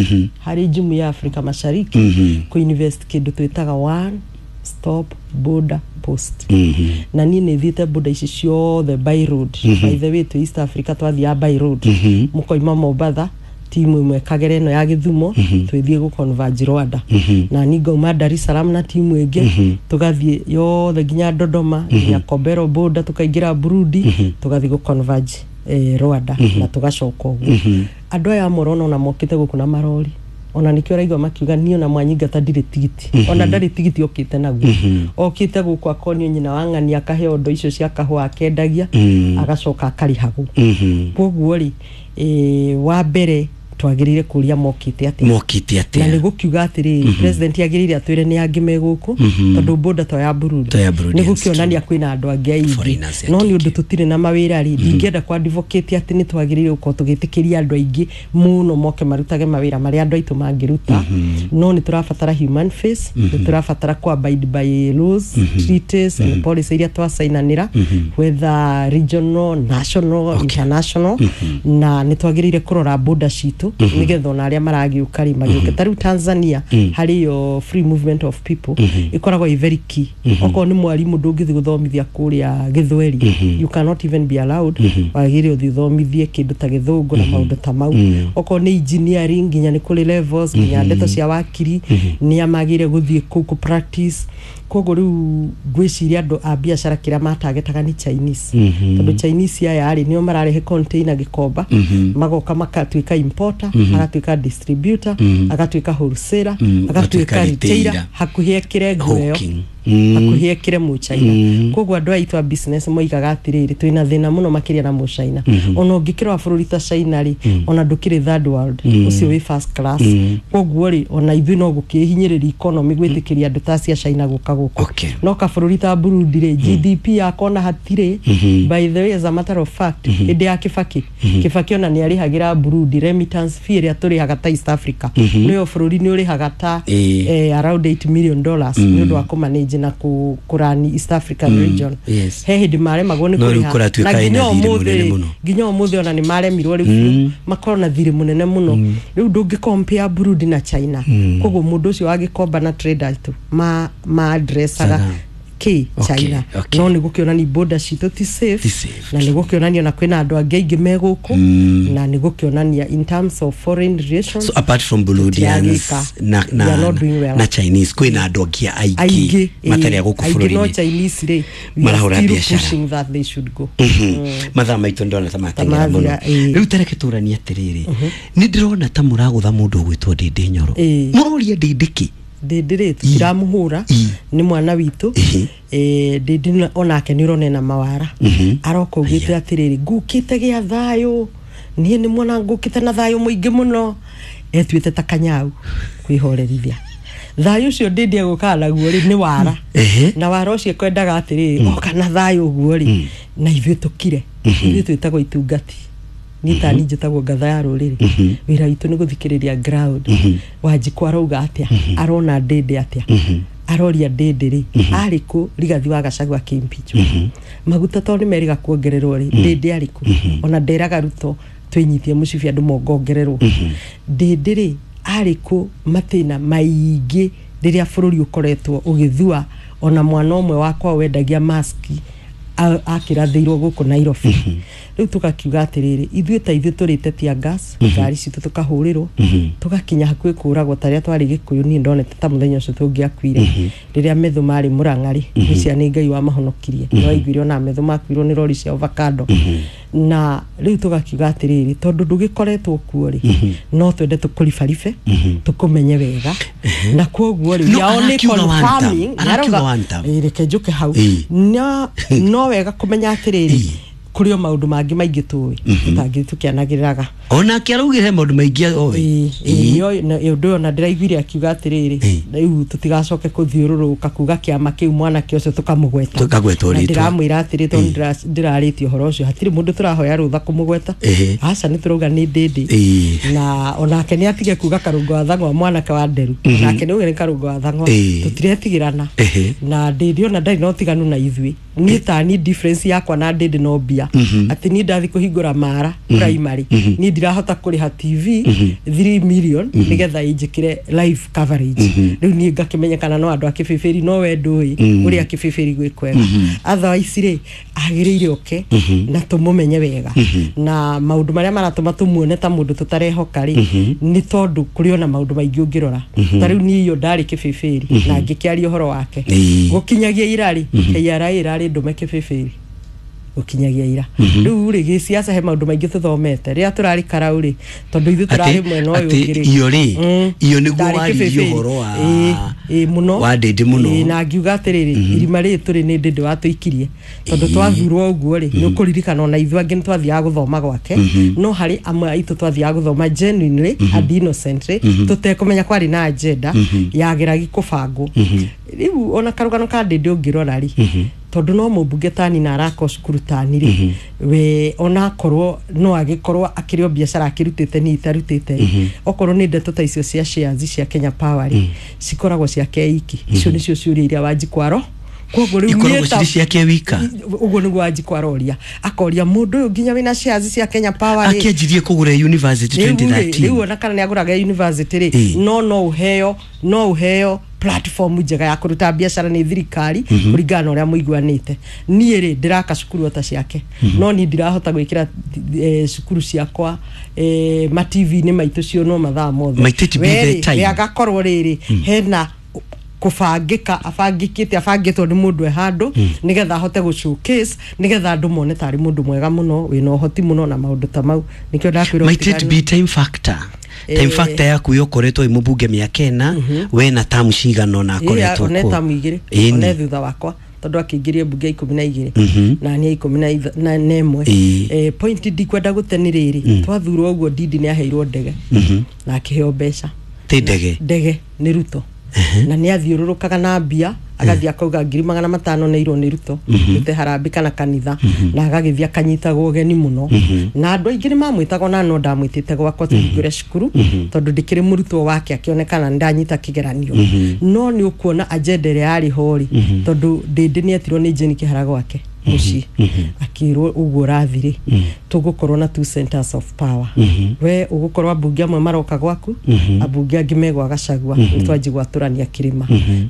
harĩ jumuiya ya Afrika Mashariki ku invest kĩndũ twĩtaga one stop border post. Na niĩ nĩ thiĩte border ici ciothe by road. By the way, twĩ East Africa twathiaga by road, mũkoima Mombatha timu ĩmwe kagere ĩno ya Gĩthumo, twĩthiĩ gũ converge Rwanda, na ni ngauma Dar es Salaam na timu ĩngĩ, tũgathiĩ yothe nginya Dodoma, nginya Kobero border, tũkaingĩra Burundi, tũgathiĩ gũ converge eh, Rwanda na tũgacoka ũguo. Andũ aya amwe ũrona ona mokĩte gũkũ na marori, ona nikĩo ũraigua makiuga niĩ ona mwanyingata ndirĩ tigiti, ona ndarĩ tigiti okĩte naguo, okĩte gũkũ akonio nyina wa ng'ani, akaheo ndo icio cia kahũa akendagia, agacoka akarĩhagwo. Koguo rĩ, eh, wa mbere twagĩrĩire kũria mokĩte atĩa. Mokĩte Na atĩa? nĩ gũkiuga atĩrĩrĩ, president agĩrĩire atwĩre nĩ angĩ me gũkũ, tondũ border to ya Burundi. To ya Burundi, nĩ yes, gũkĩonania kwĩna andũ angĩ aingĩ. Foreigners No nĩ aingĩ. ũndũ tũtirĩ na mawĩra rĩ, ndingĩenda kwa advocate atĩ nĩ twagĩrĩire gũkorwo tũgĩtĩkĩria andũ aingĩ mũno moke marutage mawĩra marĩa andũ aitũ mangĩruta. No nĩ tũrabatara human face, nĩ tũrabatara ku abide by laws, treaties and policy iria twacainanĩra, whether regional, national, international. Na nĩ twagĩrĩire kũrora border citũ nĩgetha ona arĩa maragĩũka rĩ magĩũke. Ta rĩu Tanzania, harĩ yo free movement of people ĩkoragwo ĩ very key. Okorwo nĩ mwarimũ, ndũngĩthiĩ gũthomithia kũrĩa gĩthweri, you cannot even be allowed, wagĩrĩire ũthiĩ ũthomithie kĩndũ ta gĩthũngũ na maũndũ ta mau. Okorwo nĩ engineering, nginya nĩ kũrĩ levels, nginya ndeto cia wakiri nĩ amagĩrĩire gũthiĩ kũu kũ practice. Koguo rĩu ngwĩciria andũ a biacara kĩrĩa matagetaga nĩ Chinese, tondũ Chinese aya rĩ, nĩo mararehe container Gĩkomba, magoka makatuĩka importer, agatuĩka distributor, agatuĩka wholesaler, Mm, agatuĩka agatuĩka retailer, retailer. hakuhĩ ekĩre nguo ĩyo. Hawking. Hakuhĩ ekĩre Mũchina. Koguo andũ aitũ a business moigaga atĩrĩrĩ, twĩna thĩna mũno makĩria na Mũchina. Ona ũngĩkĩrora bũrũri ta China rĩ, ona ndũkĩrĩ third world, ũcio wĩ first class. Koguo rĩ, ona ithuĩ no gũkĩhinyĩrĩria economy gwĩtĩkĩria andũ ta acio a China gũka gũkũ. Okay. No kabũrũri ta Burundi rĩ, G D P yako ona hatirĩ. By the way, as a matter of fact, hĩndĩ ya Kibaki, Kibaki ona nĩ arĩhagĩra Burundi remittance fee ĩrĩa tũrĩhaga ta East Africa, nĩyo bũrũri nĩ ũrĩhaga ta Ĩĩ. eh, around eight million dollars nĩ ũndũ wa kũmanage na kũ- kũrani East African region. yes. He hĩndĩ maremagwo nĩ No rĩu kũrĩha. kũratuĩka Na ĩna nginya thirĩ ũmũthĩ mũnene rĩ, mũno. nginya ũmũthĩ ona nĩ maremirwo rĩu biũ, makorwo na thirĩ mũnene mũno. Rĩu ndũngĩ compare Burundi na China. Koguo mũndũ ũcio wagĩkomba na trader tu ma ma addressaga Saga. kĩ Okay, China. okay. No nĩ gũkĩonania border citũ ti safe, Ti safe. na nĩ gũkĩonania na kwĩna andũ angĩ aingĩ me gũkũ, na nĩ gũkĩonania in terms of foreign relations So apart from Burundians tũtiragĩka. na, We are na, not doing well. na Chinese, kwĩna andũ angĩ aingĩ Aingĩ matarĩ a gũkũ aingĩ no bũrũri-inĩ Chinese rĩ, we are marahũra still biacara. pushing that they should go. Mathaa maitũ ndona ta mateng'era mũno. mathira, ĩĩ. Rĩu tareke tũranie atĩrĩrĩ, nĩ ndĩrona ta mũragũtha mũndũ ũgwĩtwo Ndĩndĩ Nyoro. Ĩĩ. Mũroria Ndĩndĩ kĩ? Ndĩndĩ rĩ, tũtiramũhũra, Ĩ. nĩ mwana witũ. Ĩhĩ. Eh, ndĩndĩ na- onake nĩ ũrona ena mawara, aroka augĩte atĩrĩrĩ, ngũkĩte gĩa thayũ, niĩ nĩ mwana ngũkĩte na thayũ mũingĩ mũno, etuĩte ta kanyau kwĩhorerithia. Thayũ ũcio ndĩndĩ egũkaga naguo rĩ, nĩ wara. Ehe. Na wara ũcio ekwendaga atĩrĩrĩ, oka na thayũ ũguo rĩ, na ithuĩ tũkire. Ithuĩ twĩtagwo itungati, niĩ tani njĩtagwo ngatha ya rũrĩrĩ. Wĩra witũ nĩ gũthikĩrĩria ground. Wanjikũ arauga atĩa? Arona ndĩndĩ atĩa? Aroria ndĩndĩ rĩ, arĩ kũ Rigathi wa Gachagua akĩimpeachwo? Maguta tondũ nĩ merĩga kuongererwo rĩ, ndĩndĩ arĩ kũ? Ona nderaga Ruto twĩnyitie mũcibi andũ mongongererwo. Ndĩndĩ rĩ, arĩ kũ matĩna maingĩ rĩrĩa bũrũri ũkoretwo ũgĩthua? Ona mwana ũmwe wakwa wendagia maski a- akĩrathĩirwo gũkũ Nairobi. Rĩu tũgakiuga atĩrĩrĩ, ithuĩ ta ithuĩ tũrĩte tear gas, ngari citũ tũkahũrĩrwo, tũgakinya hakuhĩ kũragwo. Tarĩa twarĩ Gĩkũyũ, niĩ ndonete ta mũthenya ũcio tũngĩakuire rĩrĩa metho marĩ Mũrang'arĩ nĩcia, nĩ Ngai wamahonokirie. Nĩ waiguire ona metho makuirwo nĩ rori cia avocado. Na rĩu tũgakiuga atĩrĩrĩ, tondũ ndũgĩkoretwo kuo rĩ, no twende tũkũribaribe tũkũmenye wega, na koguo rĩ No, we are only arakiuga one term. confirming. Arakiuga Arauga- one term. Ĩ, reke njũke hau. Ĩ. no no wega kũmenya atĩrĩrĩ, Ĩ. kũrĩ o maũndũ mangĩ maingĩ tũĩ tũtangĩ tũkĩanagĩrĩraga. Onake araugire maũndũ maingĩ oĩ. Ĩ, ĩ, na ũndũ ũyũ ona ndĩraiguire akiuga atĩrĩrĩ, rĩu tũtigacoke kũthiũrũrũka kuga kĩama kĩu mwanake ũcio tũkamũgweta. Tũkagweta Na rĩtwa. ndĩramwĩra atĩrĩ, tondũ ndĩra- ndĩrarĩtie ũhoro ũcio, hatirĩ mũndũ tũrahoya rũtha kũmũgweta. Ĩhĩ. Aca, nĩ tũrauga nĩ ndĩndĩ. Ĩ. Na onake nĩ atige kuga karũngo wa thang'wa, mwanake wa nderu, onake nĩ uge nĩ karũngo wa thang'wa. Ĩ. Tũtiretigĩrana. Ĩhĩ. Na ndĩndĩ ona ndarĩ na ũtiganu na ithuĩ. Niĩ tani difference yakwa na ndĩndĩ no mbia, atĩ niĩ ndathi kũhingũra Mara primary, niĩ ndirahota kũrĩha T V three million nĩgetha ĩnjĩkĩre live coverage. Rĩu niĩ ngakĩmenyekana no andũ a Kĩbĩbĩri, no we ndũĩ ũrĩa Kĩbĩbĩri gwĩ kwega. Otherwise rĩ, agĩrĩire oke na tũmũmenye wega. Na maũndũ marĩa maratũma tũmuone ta mũndũ tũtarehoka rĩ, nĩ tondũ kũrĩ ona maũndũ maingĩ ũngĩrora. Ta rĩu niĩ iyo ndarĩ Kĩbĩbĩri na ngĩkĩaria ũhoro wake Ĩĩ. gũkinyagia ira rĩ, K R A ĩrarĩ ndũme Kĩbĩbĩri gũkinyagia ira. Rĩu rĩ, gĩciaca he maũndũ maingĩ tũthomete rĩrĩa tũrarĩ karau rĩ, tondũ ithuĩ tũrarĩ mwena ũyũ atĩ ũngĩ rĩ. iyo rĩ, Mm. iyo nĩguo Ndarĩ waririe Kĩbĩbĩri. ũhoro wa Ĩĩ, ĩĩ, mũno wa Ndĩndĩ mũno. Ĩĩ, na ngiuga atĩrĩrĩ, irima rĩrĩ tũrĩ nĩ Ndĩndĩ watũikirie, tondũ twathurwo ũguo rĩ, nĩ ũkũririkana ona ithuĩ angĩ nĩ twathiaga gũthoma gwake, no harĩ amwe aitũ twathiaga gũthoma genuinely and innocently tũtekũmenya kwarĩ na agenda yageragi kũbangwo. Rĩu ona karũgano ka Ndĩndĩ ũngĩrora rĩ, tondũ no mũmbunge tani na araka cukuru tani rĩ, we onakorwo no agĩkorwo akĩrĩ o biacara akĩrutĩte, niĩ itarutĩte rĩ, okorwo nĩ ndeto ta icio cia shares cia Kenya Power rĩ, cikoragwo ciake iki. Icio nĩcio ciũria iria Wanjikũ aro koguo rĩu ikoragwo niĩ ta- cirĩ ciake wika. Ũguo nĩguo Wanjikũ aroria, akoria mũndũ ũyũ nginya wĩna shares cia Kenya Power rĩ, akĩanjirie kũgũra university rĩu rĩ, rĩu twenty thirteen. ona kana nĩ agũraga university rĩ, Ĩ. no no ũheo no ũheo platform njega ya kũruta biacara nĩ thirikari kũringana na ũrĩa mũiguanĩte. Niĩ rĩ, ndĩraka cukuru ota ciake, no niĩ ndirahota gwĩkĩra eh, cukuru ciakwa eh, ma T V-inĩ maitũ cionwo mathaa mothe. Might it be We the rĩ, time? we agakorwo rĩrĩ hena kũbangĩka, abangĩkĩte, abangĩtwo nĩ mũndũ e handũ nĩgetha ahote gũ showcase, nĩgetha andũ mone tarĩ mũndũ mwega mũno wĩna ũhoti mũno na maũndũ ta mau. Nĩkĩo ndakwĩra Might it ũtiganu. be time factor? Time factor yaku yokoretwo ĩ mũmbunge mĩaka ĩna, we na tamu cigana ona akoretwo one kuo. tamu igĩrĩ. Ĩni. One thutha wakwa, tondũ akĩingĩria mbunge ikũmi na igĩrĩ Mhm. na niĩ ikũmi na itha- na na ĩmwe. Ĩĩ. Eh, point ndikwenda gũte nĩ rĩrĩ, twathurwo ũguo Ndindi nĩ aheirwo ndege na akĩheo mbeca. Ti ndege? Ndege nĩ Ruto, na nĩ athiũrũrũkaga na mbia, agathiĩ akauga ngiri magana matano nĩ irwo nĩ Ruto rute harambĩ kana kanitha, na agagĩthiĩ akanyitagwo ũgeni mũno na andũ aingĩ nĩ mamwĩtaga, ona no ndamwĩtĩte gwakwa tũhingũre cukuru, tondũ ndĩkĩrĩ mũrutwo wake, akĩonekana nĩ ndanyita kĩgeranio. No nĩ ũkuona agenda ĩrĩa yarĩ ho rĩ, tondũ Ndĩndĩ nĩ etirwo nĩ Jane Kĩhara gwake mũciĩ, akĩrwo ũguo ũrathi rĩ, tũgũkorwo na two centers of power, we ũgũkorwo ambunge amwe maroka gwaku, ambunge angĩ megwa Gachagua, nĩ twanji gwatũrania kĩrĩma,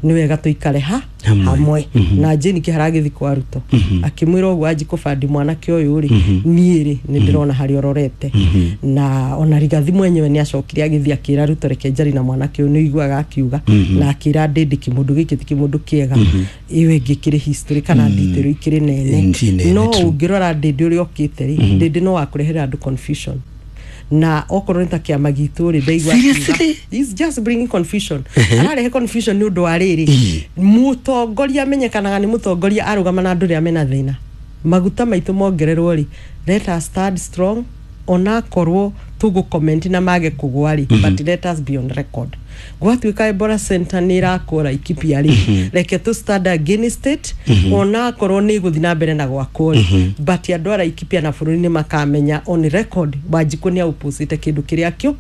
nĩ wega tũikare ha Hamwe. Hamwe. Na Jane Kĩhara agĩthiĩ kwa Ruto akĩmwĩra ũguo, anji kũbandi mwanake ũyũ rĩ, niĩ rĩ nĩ ndĩrona harĩa ũrorete. Na ona Rigathi mwenyewe nĩ acokire agĩthiĩ akĩra Ruto, reke njari na mwanake ũyũ, nĩ ũiguaga akiuga, na akĩra Ndĩndĩ kĩmũndũ gĩkĩ ti kĩmũndũ kĩega, ĩyo ĩngĩ kĩrĩ history kana detail ikĩrĩ nene. Ti nene, No true. ũngĩrora Ndĩndĩ ũrĩa okĩte rĩ, Ndĩndĩ no wakũrehera andũ confusion, na okorwo nĩ ta kĩama gitũ rĩ, ndaigua akiuga, Seriously? he's just bringing confusion, ararehe confusion nĩ ũndũ wa rĩrĩ, Ĩĩ. mũtongoria amenyekanaga nĩ mũtongoria arũgama na andũ rĩa mena thĩna. Maguta maitũ mongererwo rĩ, let us stand strong, onakorwo tũgũ comment na mage kũgwa rĩ, but let us be on record. Gwatuĩka Ebola Center nĩ ĩrakwo Laikipia rĩ, reke tũ stand against it, onakorwo nĩ ĩgũthiĩ na mbere na gwakwo rĩ, but andũ a Laikipia na bũrũri nĩ makamenya on record Wanjikũ nĩ aũpũcĩte kĩndũ kĩrĩa kĩo.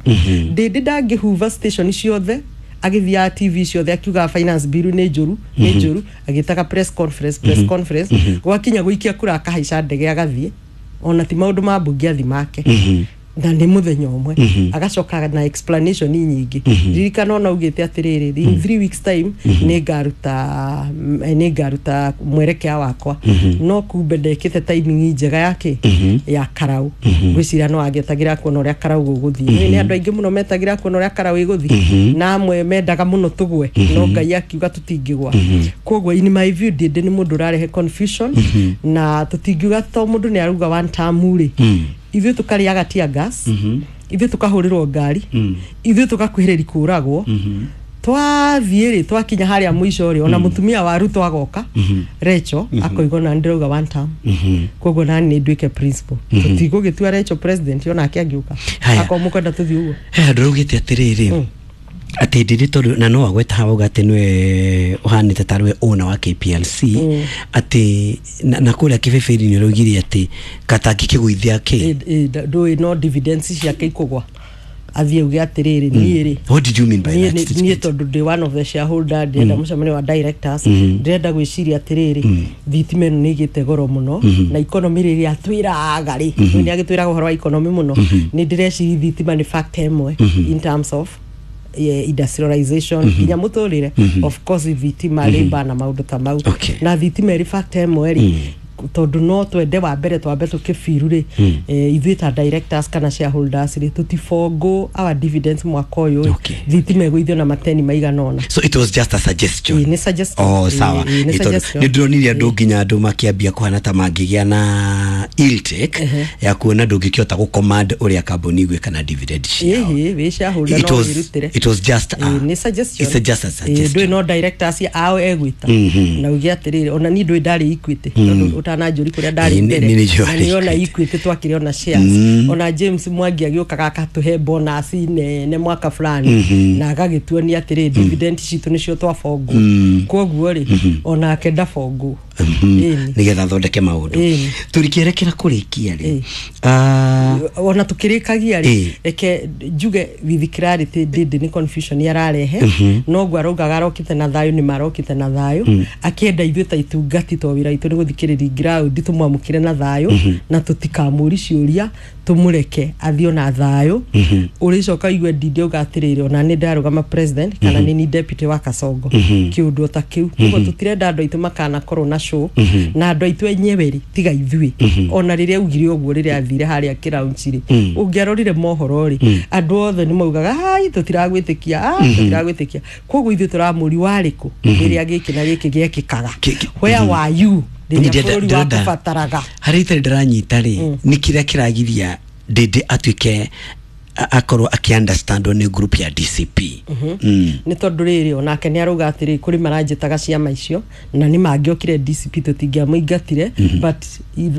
Ndĩndĩ ndangĩhuva station ciothe, agĩthiaga T V ciothe akiugaga finance bill nĩ njũru, nĩ njũru, agĩtaga press conference, press conference, gwakinya gũikia kura akahaica ndege agathiĩ, ona ti maũndũ ma mbunge athi make, na nĩ mũthenya ũmwe agacoka na explanation nyingĩ. Ririkana ona augĩte atĩrĩrĩ, in three weeks time nĩ ngaruta nĩ ngaruta mwerekea wakwa, no kumbe ndekĩte timing njega yake ya karau. Ngwĩciria no agĩetagĩra kuona ũrĩa karau gũgũthiĩ. Nĩ andũ aingĩ mũno metagĩra kuona ũrĩa karau ĩgũthiĩ, na amwe mendaga mũno tũgwe, no Ngai akiuga tũtingĩgwa. Koguo in my view, Ndĩndĩ nĩ mũndũ ũrarehe confusion, na tũtingiuga to mũndũ nĩ arauga one term rĩ, ithuĩ tũkarĩaga tear gas, ithuĩ tũkahũrĩrwo ngari, ithuĩ tũgakuhĩrĩria kũragwo, twathiĩ rĩ, twakinya harĩa mũico rĩ, ona mũtumia wa Ruto agoka Rachel akoiga ona ndĩrauga one term, koguo nani nĩ nduĩke principal, tũtigũgĩtua Rachel president onake angĩũka. Haya. Akorwo mũkwenda tũthiĩ ũguo. He handå raugä atĩrĩrĩ atĩ ndĩrĩ tondũ na no wagweta haha uga atĩ nĩwe ũhanĩte tarĩ we owner wa K P L C, atĩ na, na kũrĩa kĩbĩbĩri nĩ ũraugire atĩ katangĩkĩgũithia kĩ. Ĩ- ĩ, ndũĩ no dividends ciake ikũgwa, athiĩ auge atĩrĩrĩ, niĩ rĩ, What did you mean by niĩ that nĩ- niĩ statement? Tondũ ndĩ one of the shareholder, ndĩrenda mũcemanio wa directors, ndĩrenda gwĩciria atĩrĩrĩ, thitima ĩno nĩ ĩgĩte goro mũno na economy rĩrĩa atwĩraga rĩ, nĩ agĩtwĩraga ũhoro wa economy mũno, nĩ ndĩreciria thitima nĩ factor ĩmwe in terms of eh, industrialization nginya mũtũrĩre, of course thitima, labor na maũndũ ta mau. Okay. Na thitima ĩrĩ factor ĩmwe rĩ, tondũ no twende wa mbere twambe tũkĩbiru rĩ, eh, ithuĩ ta directors kana shareholders rĩ, tũtibongo our dividends mwaka ũyũ rĩ, Okay. thitima ĩgũithio na mateni maigana ũna. So it was just a suggestion? Ĩĩ, nĩ suggestion. Oh, sawa. Ĩĩ, ĩĩ, nĩ Ĩ, tondũ suggestion. nĩ ndĩronire andũ nginya andũ makĩambia kũhana ta mangĩgĩa na ill-take ya kuona ndũngĩkĩhota gũ-command ũrĩa kambuni igwĩka na dividend ciao. Ĩhĩ, wĩ shareholder It no was- wĩrutĩre. It was just a, Ĩĩ, nĩ suggestion. It's a just a Ĩĩ, suggestion. ndũĩ no directors ao egwĩta na uge atĩrĩrĩ, ona niĩ ndũĩ ndarĩ Equity, tondũ ũtananjũri kũrĩa ndarĩ Ĩĩ, mbere, nĩ- nĩ njũĩ na nĩ ona Equity. Equity twakĩrĩ ona shares, ona James Mwangi agĩũkaga akatũhe bonus nene mwaka fulani na agagĩtuonia atĩrĩ, dividend citũ nĩcio twabongwo, koguo rĩ, onake ndabongwo. Ĩni. Nĩgetha athondeke maũndũ. Ĩni. Tũrĩkĩerekera kũrĩkia rĩ, Ĩĩ. Ah, ona tukĩrĩkagia rĩ, Ĩĩ. reke njuge with clarity, ndĩndĩ nĩ confusion ararehe, noguo araugaga arokĩte na thayũ, nĩ marokĩte na thayũ, akĩenda ithuĩ ta itungati, to wĩra witũ nĩ gũthikĩrĩria ground, tũmwamũkĩre na thayũ na tũtikamũri ciũria, tũmũreke athiĩ ona thayũ. Ũrĩcoka igue Ndindi auga atĩrĩrĩ, ona nĩ ndarũgama president kana nĩ ni deputy wa Kasongo, kĩũndũ o ta kĩu. Koguo tũtirenda andũ aitũ makanakorwo na show na andũ aitũ enyewe rĩ, tiga ithuĩ. Ona rĩrĩa augire ũguo, rĩrĩa athire harĩa kĩraunchi rĩ, ũngĩarorire mohoro rĩ, andũ othe nĩ maugaga, ai, tũtiragwĩtĩkia, ai, tũtiragwĩtĩkia. Koguo ithuĩ tũramũri warĩ kũ rĩrĩa gĩkĩ na gĩkĩ gĩekĩkaga? Kĩ- kĩ- Where were you rĩrĩa Ndĩrenda- bũrũri ndĩrenda- wakũbataraga? Harĩa itarĩ ndĩranyita rĩ, nĩ kĩrĩa kĩragiria Ndĩndĩ atuĩke a- akorwo akĩ-understandwo nĩ group ya D C P. Mm. Nĩ tondũ rĩrĩ, onake nĩ arauga atĩrĩ, kũrĩ maranjĩtaga ciama icio na nĩ mangĩokire D C P tũtingĩamũingatire, but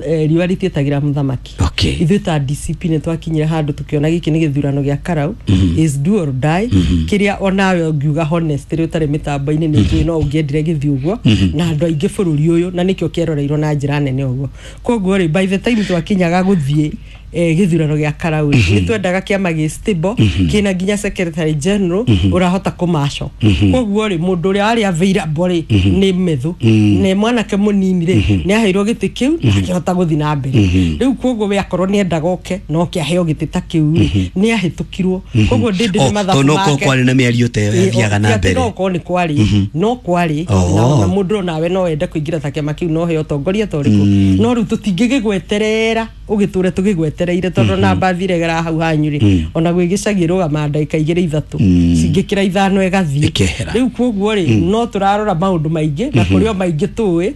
eh, riũa rĩtiĩtagĩra mũthamaki. Okay. Ithuĩ ta D C P nĩ twakinyire handũ tũkĩona gĩkĩ nĩ gĩthurano gĩa karau, is do or die, kĩrĩa onawe ũngiuga honest rĩ, ũtarĩ mĩtambo-inĩ, nĩ njũĩ no ũngĩendire gĩthiĩ ũguo na andũ aingĩ bũrũri ũyũ, na nĩkĩo kĩeroreirwo na njĩra nene ũguo. Koguo rĩ, by the time twakinyaga gũthiĩ eh, gĩthurano gĩa karau rĩ, nĩ twendaga kĩama gĩ stable, kĩna nginya secretary general ũrahota kũmaco. Koguo rĩ, mũndũ ũrĩa warĩ available rĩ nĩ Methu, nĩ mwanake mũnini rĩ, nĩ aheirwo gĩtĩ kĩu na akĩhota gũthiĩ na mbere rĩu. Koguo we akorwo nĩ endaga oke no oke aheo gĩtĩ ta kĩu rĩ, nĩ ahĩtũkirwo. Koguo ndĩndĩ Oh, nĩ mathabu tondũ no korwo make. kwarĩ na mĩario ta ĩyo yathiaga na Ti atĩ mbere. No korwo nĩ kwarĩ, no kwarĩ Oh. na ona mũndũ onawe no wende kũingĩra ta kĩama kĩu no heo ũtongoria ta ũrĩkũ, no rĩu tũtingĩgĩgweterera ũgĩtũre tũgĩgwetereire, tondũ na mbathi regera hau hanyu rĩ, ona gwĩ gĩcagi ĩrũgamaga ndagĩka igĩrĩ ithatũ, cingĩkĩra ithano ĩgathiĩ. Ĩkehera. Rĩu koguo rĩ, no tũrarora maũndũ maingĩ na kũrĩ o maingĩ tũĩ,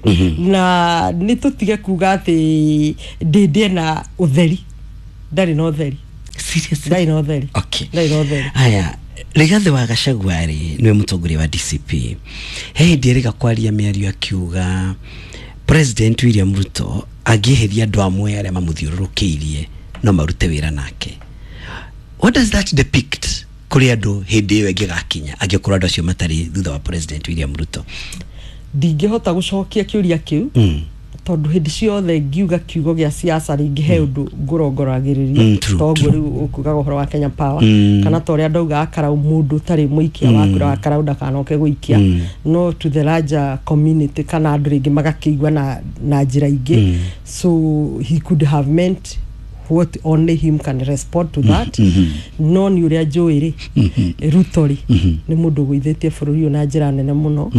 na nĩ tũtige kuga atĩ ndĩndĩ ena ũtheri. Ndarĩ na ũtheri. Seriously? Ndarĩ na ũtheri. Okay. Ndarĩ na ũtheri. Aya, Rigathi wa Gachagua rĩ, nĩwe mũtongoria wa D C P, he hĩndĩ erĩga kwaria mĩario akiuga President William Ruto angĩeheria andũ amwe arĩa mamũthiũrũrũkĩirie no marute wĩra nake. What does that depict kũrĩ andũ hĩndĩ ĩyo ĩngĩgakinya, angĩkorwo andũ acio matarĩ thutha wa President William Ruto? Ndingĩhota gũcokia kĩũria kĩu, mm. tondũ hĩndĩ ciothe ngiuga kiugo gĩa siasa rĩngĩ he ũndũ ngũrongoragĩrĩria. Mm, true, Toguo rĩu ũkugaga ũhoro wa Kenya Power, Mm. kana ta ũrĩa ndaugaga karau, mũndũ ũtarĩ mũikia wa kura wa karau ndakanoke gũikia, no to the larger community kana andũ rĩngĩ magakĩigua na, na njĩra ingĩ. So he could have meant what only him can respond to that. No nĩ ũrĩa njũĩ rĩ, Ruto rĩ, nĩ mũndũ ũgũithĩtie bũrũri ũyũ na njĩra nene mũno,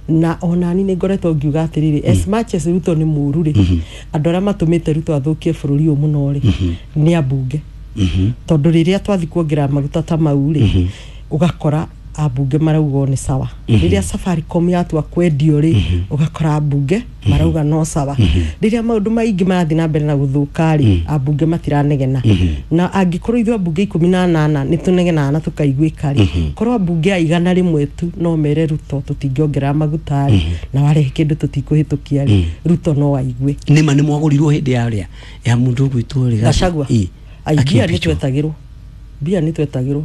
na onani nĩ ngoretwo ngiuga atĩrĩrĩ, as much as Ruto nĩ mũru rĩ, andũ arĩa matũmĩte Ruto athũkie bũrũri ũyũ mũno rĩ nĩ ambunge, tondũ rĩrĩa twathi kuongerera maguta ta mau rĩ, ũgakora ambunge marauga o nĩ sawa. Rĩrĩa Safaricom yatua kwendio rĩ, ũgakora ambunge marauga no sawa. Rĩrĩa maũndũ maingĩ marathiĩ na mbere na gũthũka rĩ, ambunge matiranegena. Na angĩkorwo ithuĩ ambunge ikũmi na anana nĩ tũnegenaga na tũkaiguĩka rĩ, korwo ambunge a igana rĩmwe tu no mere Ruto tũtingĩongerera maguta rĩ, na warehe kĩndũ tũtikũhĩtũkia rĩ, Ruto no aigue. Nĩma nĩ mwagũrirwo hĩndĩ ya ũrĩa ya mũndũ ũgwĩtwo Rigathi? Gachagua? Ĩ, Ai, mbia nĩ akĩimpeachwo. twetagĩrwo, mbia nĩ twetagĩrwo.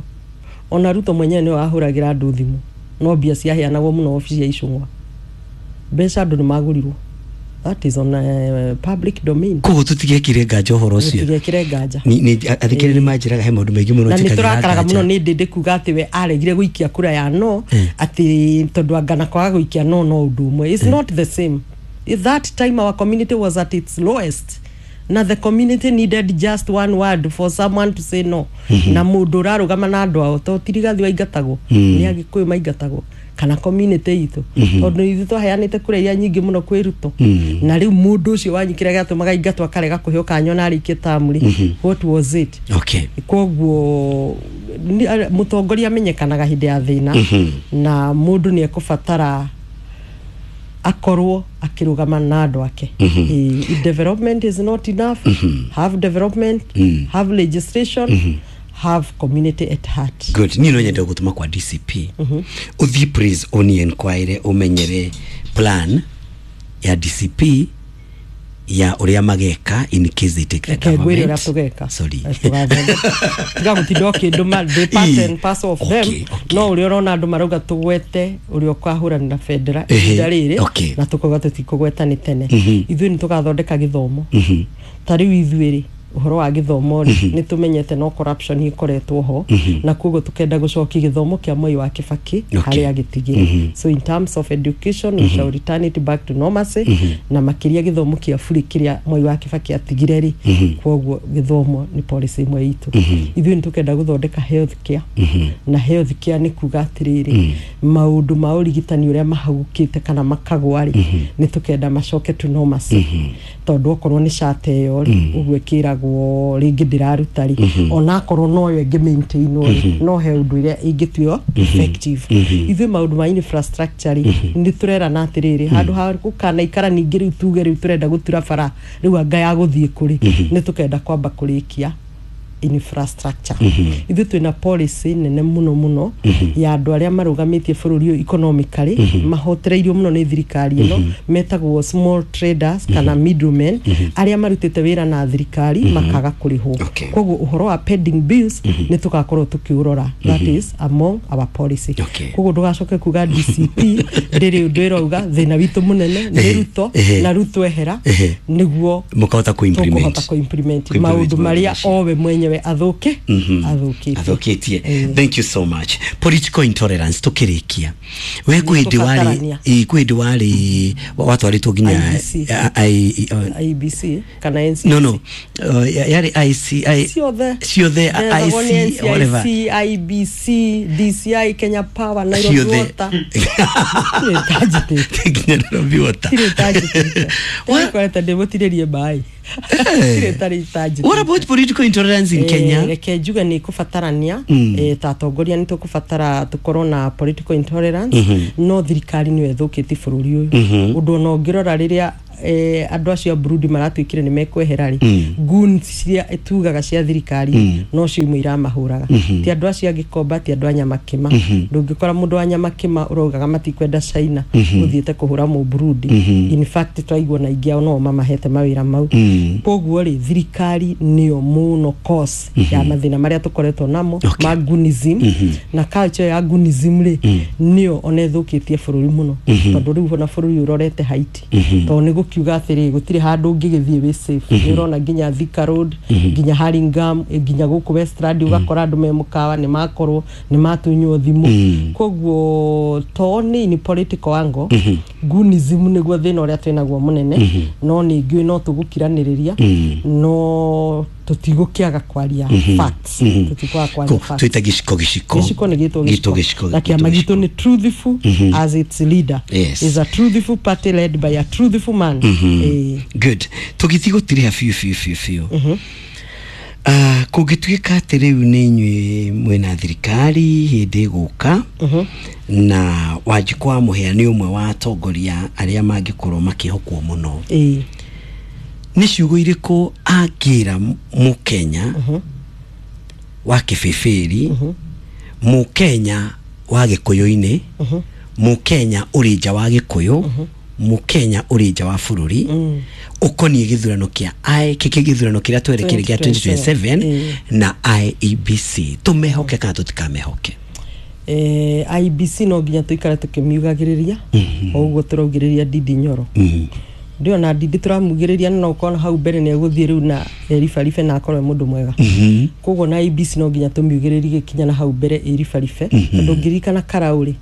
Ona Ruto mwenyewe nĩwe wahũragĩra andũ thimũ, no mbia ciaheanagwo mũno obici ya Icũng'wa. Mbeca andũ nĩ magũrirwo, that is on uh, public domain. Koguo tũtigekire nganja ũhoro ũcio. Tũtigekĩre nganja. Ni- ni- athikĩrĩria nĩ manjĩraga he maũndũ maingĩ mũno Na nĩ njĩkagĩra tũrakaraga nganja. mũno nĩ ndĩndĩ kuga atĩ we aregire gũikia kura ya no, atĩ tondũ angana kwaga gũikia no no ũndũ ũmwe. It's not the same. At that time our community was at its lowest, na the community needed just one word for someone to say no, na mũndũ ũrarũgama na andũ ao, to ti Rigathi waingatagwo, nĩ Agĩkũyũ maingatagwo kana community itũ, tondũ ithuĩ twaheanĩte kura iria nyingĩ mũno kwĩ Ruto. Na rĩu mũndũ ũcio wanyu kĩrĩa gĩatũmaga aingatwo akarega kũheo kanya ona arĩkie tamu rĩ, what was it? Okay. Koguo nĩ- mũtongoria amenyekanaga hĩndĩ ya thĩna, na mũndũ nĩ ekũbatara akorwo akĩrũgama na andũ ake. Eh, if development is not enough, have development, have legislation, have community at heart. Good. Niĩ no nyende gũtũma kwa D C P ũthiĩ, please, ũni enquire ũmenyere plan ya D C P ya ũrĩa mageka in case they take the Reke ngwĩre ũrĩa government. tũgeka. Sorry. Eh, tũgathondeka. Tiga gũtinda ũkĩndũma, ndĩ part and parcel of them. Okay, okay. No ũrĩa ũrona andũ marauga tũgwete ũrĩa ũkahũranĩra bendera Ehe, ihinda rĩrĩ, okay. na tũkauga tũtikũgweta nĩ tene. Ithuĩ nĩ tũgathondeka gĩthomo. Ta rĩu ithuĩ rĩ, ũhoro wa gĩthomo rĩ, nĩ tũmenyete no corruption ĩkoretwo ho, na koguo tũkenda gũcokia gĩthomo kĩa Mwai wa Kĩbakĩ Okay. harĩa gĩtigire. So in terms of education, we shall return it back to normalcy, na makĩria gĩthomo kĩa buri kĩrĩa Mwai wa Kĩbakĩ atigire rĩ. Koguo gĩthomo nĩ policy ĩmwe itũ. Ithuĩ nĩ tũkenda gũthondeka health care, na health care nĩ kuga atĩrĩrĩ, maũndũ ma ũrigitani ũrĩa mahagũkĩte kana makagwa rĩ, nĩ tũkenda macoke to normalcy, tondũ okorwo nĩ cata ĩyo rĩ, ũguo ĩkĩragwo rĩngĩ ndĩraruta rĩ, ona akorwo noyo ĩngĩ maintainwo rĩ, no he ũndũ ĩrĩa ĩngĩtuĩo effective. Ithuĩ maũndũ ma infrastructure rĩ, nĩ tũrerana atĩrĩrĩ, handũ ha gũkanaikara ningĩ rĩu tuge rĩu tũrenda gũtura bara rĩu anga ya gũthiĩ kũrĩ, nĩ tũkenda kwamba kũrĩkia. Infrastructure. Ithuĩ twĩna policy nene mũno mũno ya andũ arĩa marũgamĩtie bũrũri ũyũ economically, mahotereirio mũno nĩ thirikari ĩno, metagwo small traders kana middlemen, arĩa marutĩte wĩra na thirikari makaga kũrĩhwo. Okay. Koguo ũhoro wa pending bills nĩ tũgakorwo tũkĩũrora. That is among our policy. Okay. Koguo ndũgacoke kuga D C P ndĩrĩ ũndũ ĩrauga. Thĩna witũ mũnene nĩ Ruto. Ehe. Na Ruto ehera Ehe. nĩguo mũkahota tũkũhota kũ-implement kũ-implement Kũ-implement maũndũ marĩa macio. owe mwenyewe athũke athũkĩtie. Athũkĩtie. Eh. Thank you so much. Political intolerance, tukĩrĩkia, we kwĩ hĩndĩ warĩ Nĩtũbatarania. ĩ, kwĩ hĩndĩ warĩ watwarĩtwo nginya I B C. I- I- uh, I B C kana N C C? no no uh, yarĩ I C I, Ciothe. Ciothe. Ndethagwo nĩ I C whatever. N C I C, I B C, D C I, Kenya Power, Nairobi Ciothe. Water. Tirĩ tanjĩtĩte. Nginya Nairobi Water. Tirĩ tanjĩtĩte. What? Ndikorete ndĩmũtirĩrie maĩ. Tirĩ tarĩ tanjĩtĩte. What about political intolerance in Eh, Kenya? Reke njuge nä kũbatarania eh, ta atongoria nĩ tũkũbatara tũkorwo na political intolerance, no thirikari nĩyo ĩthũkĩtie bũrũri ũyũ. Ũndũ ona ũngĩrora rĩrĩa eh, andũ acio a Burundi maratuĩkire nĩ mekwehera rĩ, goons ciria tugaga cia thirikari no cio imwe iramahũraga, ti andũ acio angĩkomba, ti andũ a Nyamakĩma. Ndũngĩkora mũndũ wa Nyamakĩma ũraugaga matikwenda China ũthiĩte kũhũra mũburundi. In fact, twaigua na ingĩ ao no mamahete mawĩra mau. Koguo rĩ, thirikari nĩyo mũno cause ya mathĩna marĩa tũkoretwo namo Okay. ma goonism, na culture ya goonism rĩ, nĩyo ona ĩthũkĩtie bũrũri mũno, tondũ rĩu ona bũrũri ũrorete Haiti, tondũ nĩ gũkiuga atĩrĩ gũtirĩ handũ ũngĩgĩthiĩ wĩ safe. Nĩ ũrona nginya Thika Road, nginya Hurlingham, eh, nginya gũkũ Westland, ũgakora andũ me mũkawa nĩ makorwo nĩ matunywo thimũ. Koguo to nĩ in political angle, goonism nĩguo thĩna ũrĩa twĩnaguo mũnene, no nĩ ngĩũĩ no tũgũkiranĩrĩria, no tũtigũkĩaga kwaria facts, tũtikwaga kwaria Ko- facts. Twĩta gĩciko gĩciko. Gĩciko nĩ gĩtwo Gĩtwo gĩciko. Gĩciko. Na kĩama Gĩtwo gitũ nĩ truthful as its leader Yes. is a truthful party led by a truthful man. Eh, good. Tũgĩthiĩ gũtirĩha biũ biũ biũ biũ, Ah, kũngĩtuĩka atĩ rĩu nĩ inyuĩ mwĩna thirikari hĩndĩ ĩgũka, na Wanjikũ wa Mũhĩa nĩ ũmwe wa atongoria arĩa mangĩkorwo makĩhokwo mũno, eh, nĩ ciugo irĩkũ angĩra mũkenya wa kĩbĩbĩri, mũkenya wa gĩkũyũ-inĩ, mũkenya ũrĩ nja wa gĩkũyũ, mũkenya ũrĩ nja wa bũrũri, ũkoniĩ gĩthurano kĩa I kĩkĩ gĩthurano kĩrĩa twerekeire gĩa twenty twenty-seven Eh. na I E B C, tũmehoke kana tũtikamehoke? eh, I B C no nginya tũikare tũkĩmiugagĩrĩria o ũguo tũraugĩrĩria Ndindi Nyoro. Ndiona Ndindi tũramugĩrĩria, no ũkona hau mbere nĩ egũthiĩ rĩu na eribaribe na akorwo e mũndũ mwega. Koguo na I B C no nginya tũmiugĩrĩrie gĩkinya na hau mbere ĩribaribe, tondũ ngĩririkana Karau rĩ,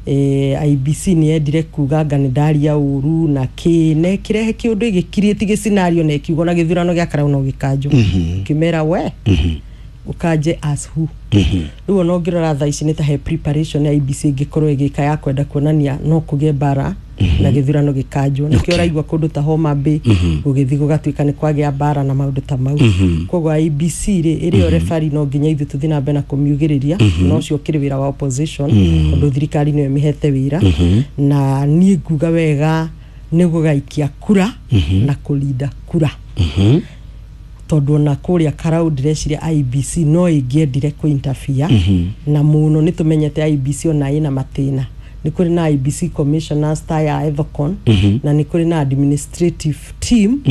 eh, I B C nĩ yendire kuga anga nĩ ndaria ũru na kĩ na ĩkĩrehe kĩũndũ ĩgĩkiriĩti gĩcinario na ĩkiuga na gĩthurano gĩa Karau no gĩkanjwo. Ngĩmera we ũkanje as who? Rĩu ona ũngĩrora thaa ici nĩ ta he preparation ya I B C ĩngĩkorwo ĩgĩka ya kwenda kuonania no kũgĩe mbara na gĩthurano gĩkanjwo. Nĩkĩo Okay. ũraigua kũndũ ta Homa Bay gũgĩthiĩ gũgatuĩka nĩ kwagĩa mbara na maũndũ ta mau. Koguo I B C rĩ, ĩrĩ o refari, no nginya ithuĩ tũthiĩ na mbere na kũmiugĩrĩria, na ũcio ũkĩrĩ wĩra wa opposition, tondũ thirikari nĩyo ĩmĩhete wĩra. Na niĩ nguga wega nĩ gũgaikia kura na kũrinda kura, tondũ ona kũrĩa Karau ndĩreciria I B C no ĩngĩendire kũ-interfere na mũno. Nĩ tũmenyete I B C ona ĩna matĩna. Nĩ kũrĩ na I B C commissioners ta ya Ethacon, na nĩ kũrĩ na administrative team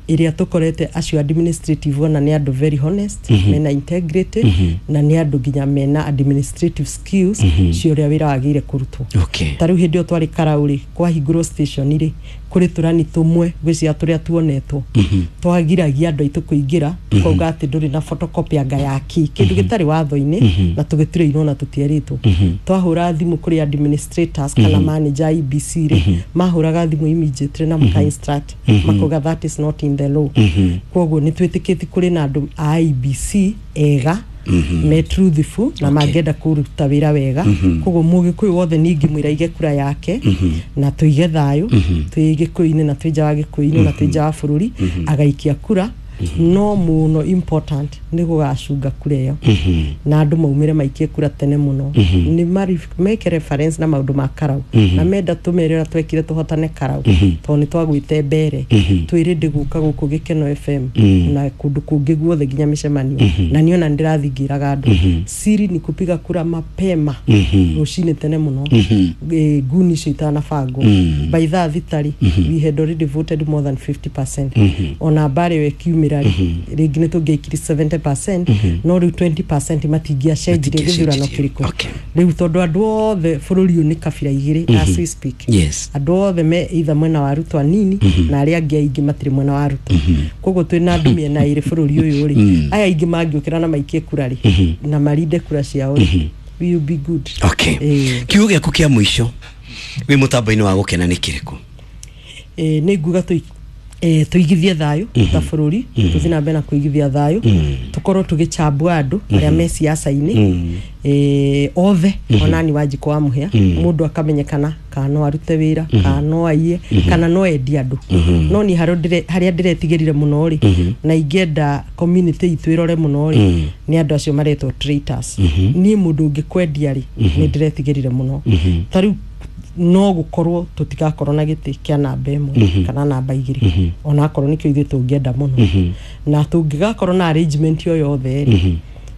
ĩrĩa tũkorete. Acio administrative ona nĩ andũ very honest, mena integrity, na nĩ andũ nginya mena administrative skills cia ũrĩa wĩra wagĩrĩire kũrutwo. Okay. Ta rĩu hĩndĩ ĩyo twarĩ Karau rĩ, kwahingũrwo station rĩ, kũrĩ tũrani tũmwe ngwĩciria tũrĩa tuonetwo twagiragia andũ aitũ kũingĩra, tukauga atĩ ndũrĩ na photocopy anga ya kĩ kĩndũ gĩtarĩ watho-inĩ, na tũgĩturĩirwo na tũtierĩtwo. Twahũra thimũ kũrĩ administrators kana manager a I B C rĩ, mahũraga thimũ immediately na maka instruct makauga that is not in the law. Koguo nĩ twĩtĩkĩtie kũrĩ na andũ a I B C ega me truthful na mangĩenda kũruta wĩra wega. Koguo mũgĩkũyũ wothe ningĩmwĩra aige kura yake na tũige thayũ twĩ gĩkũyũ-inĩ na twĩ nja wa gĩkũyũ-inĩ na twĩ nja wa bũrũri, agaikia kura. No mũno important nĩ gũgacunga kura ĩyo na andũ maumĩre maikie kura tene mũno, nĩ mari- meke reference na maũndũ ma Karau, na menda tũmere ũrĩa twekire tũhotane Karau, tondũ nĩ twagwĩte mbere twĩrĩ ndĩgũka gũkũ Gĩkeno F M na kũndũ kũngĩ guothe nginya mĩcemanio, na niĩ ona nĩndĩrathiĩ ngĩraga andũ siri ni kupiga kura mapema, rũcinĩ tene mũno, Eh, nguni icio itanabangwo. By thaa thita rĩ, we had already voted more than fifty percent. Ona mbara ĩyo ĩkiumĩra rĩ, rĩngĩ nĩ tũngĩaikiri seventy percent, no rĩu twenty percent matingĩacenjirie gĩthurano kĩrĩkũ. Okay. Rĩu tondũ andũ othe bũrũri ũyũ nĩ kabira igĩrĩ as we speak, Yes. andũ othe me either mwena wa Ruto anini na arĩa angĩ aingĩ matirĩ mwena wa Ruto. Koguo twĩna andũ mĩena ĩrĩ bũrũri ũyũ rĩ, aya aingĩ mangĩũkĩra na maikie kura rĩ, na marinde kura ciao rĩ, we will be good. Okay. Ĩĩ. Kiugo gĩaku kĩa mũico wĩ mũtambo-inĩ wa Gũkena nĩ kĩrĩkũ? Eh, nĩ nguga tũi eh, tũigithie thayũ ta bũrũri, tũthiĩ na mbere na kũigithia thayũ, tũkorwo tũgĩchambua andũ arĩa me siasa-inĩ eh, othe, onani Wanjikũ wa Mũhĩa, mũndũ akamenyekana kana no arute wĩra, kana no aiye, kana no endie andũ. No niĩ harĩa ndĩre- harĩa ndĩretigĩrire mũno rĩ, na ingĩenda community itũ ĩrore mũno rĩ, nĩ andũ acio maretwo traitors. Niĩ mũndũ ũngĩkwendia rĩ, nĩ ndĩretigĩrire mũno. Ta rĩu no gũkorwo tũtigakorwo na gĩtĩ kĩa namba ĩmwe kana namba igĩrĩ, onakorwo nĩkĩo ithuĩ tũngĩenda mũno, na tũngĩgakorwo na arrangement o yothe rĩ.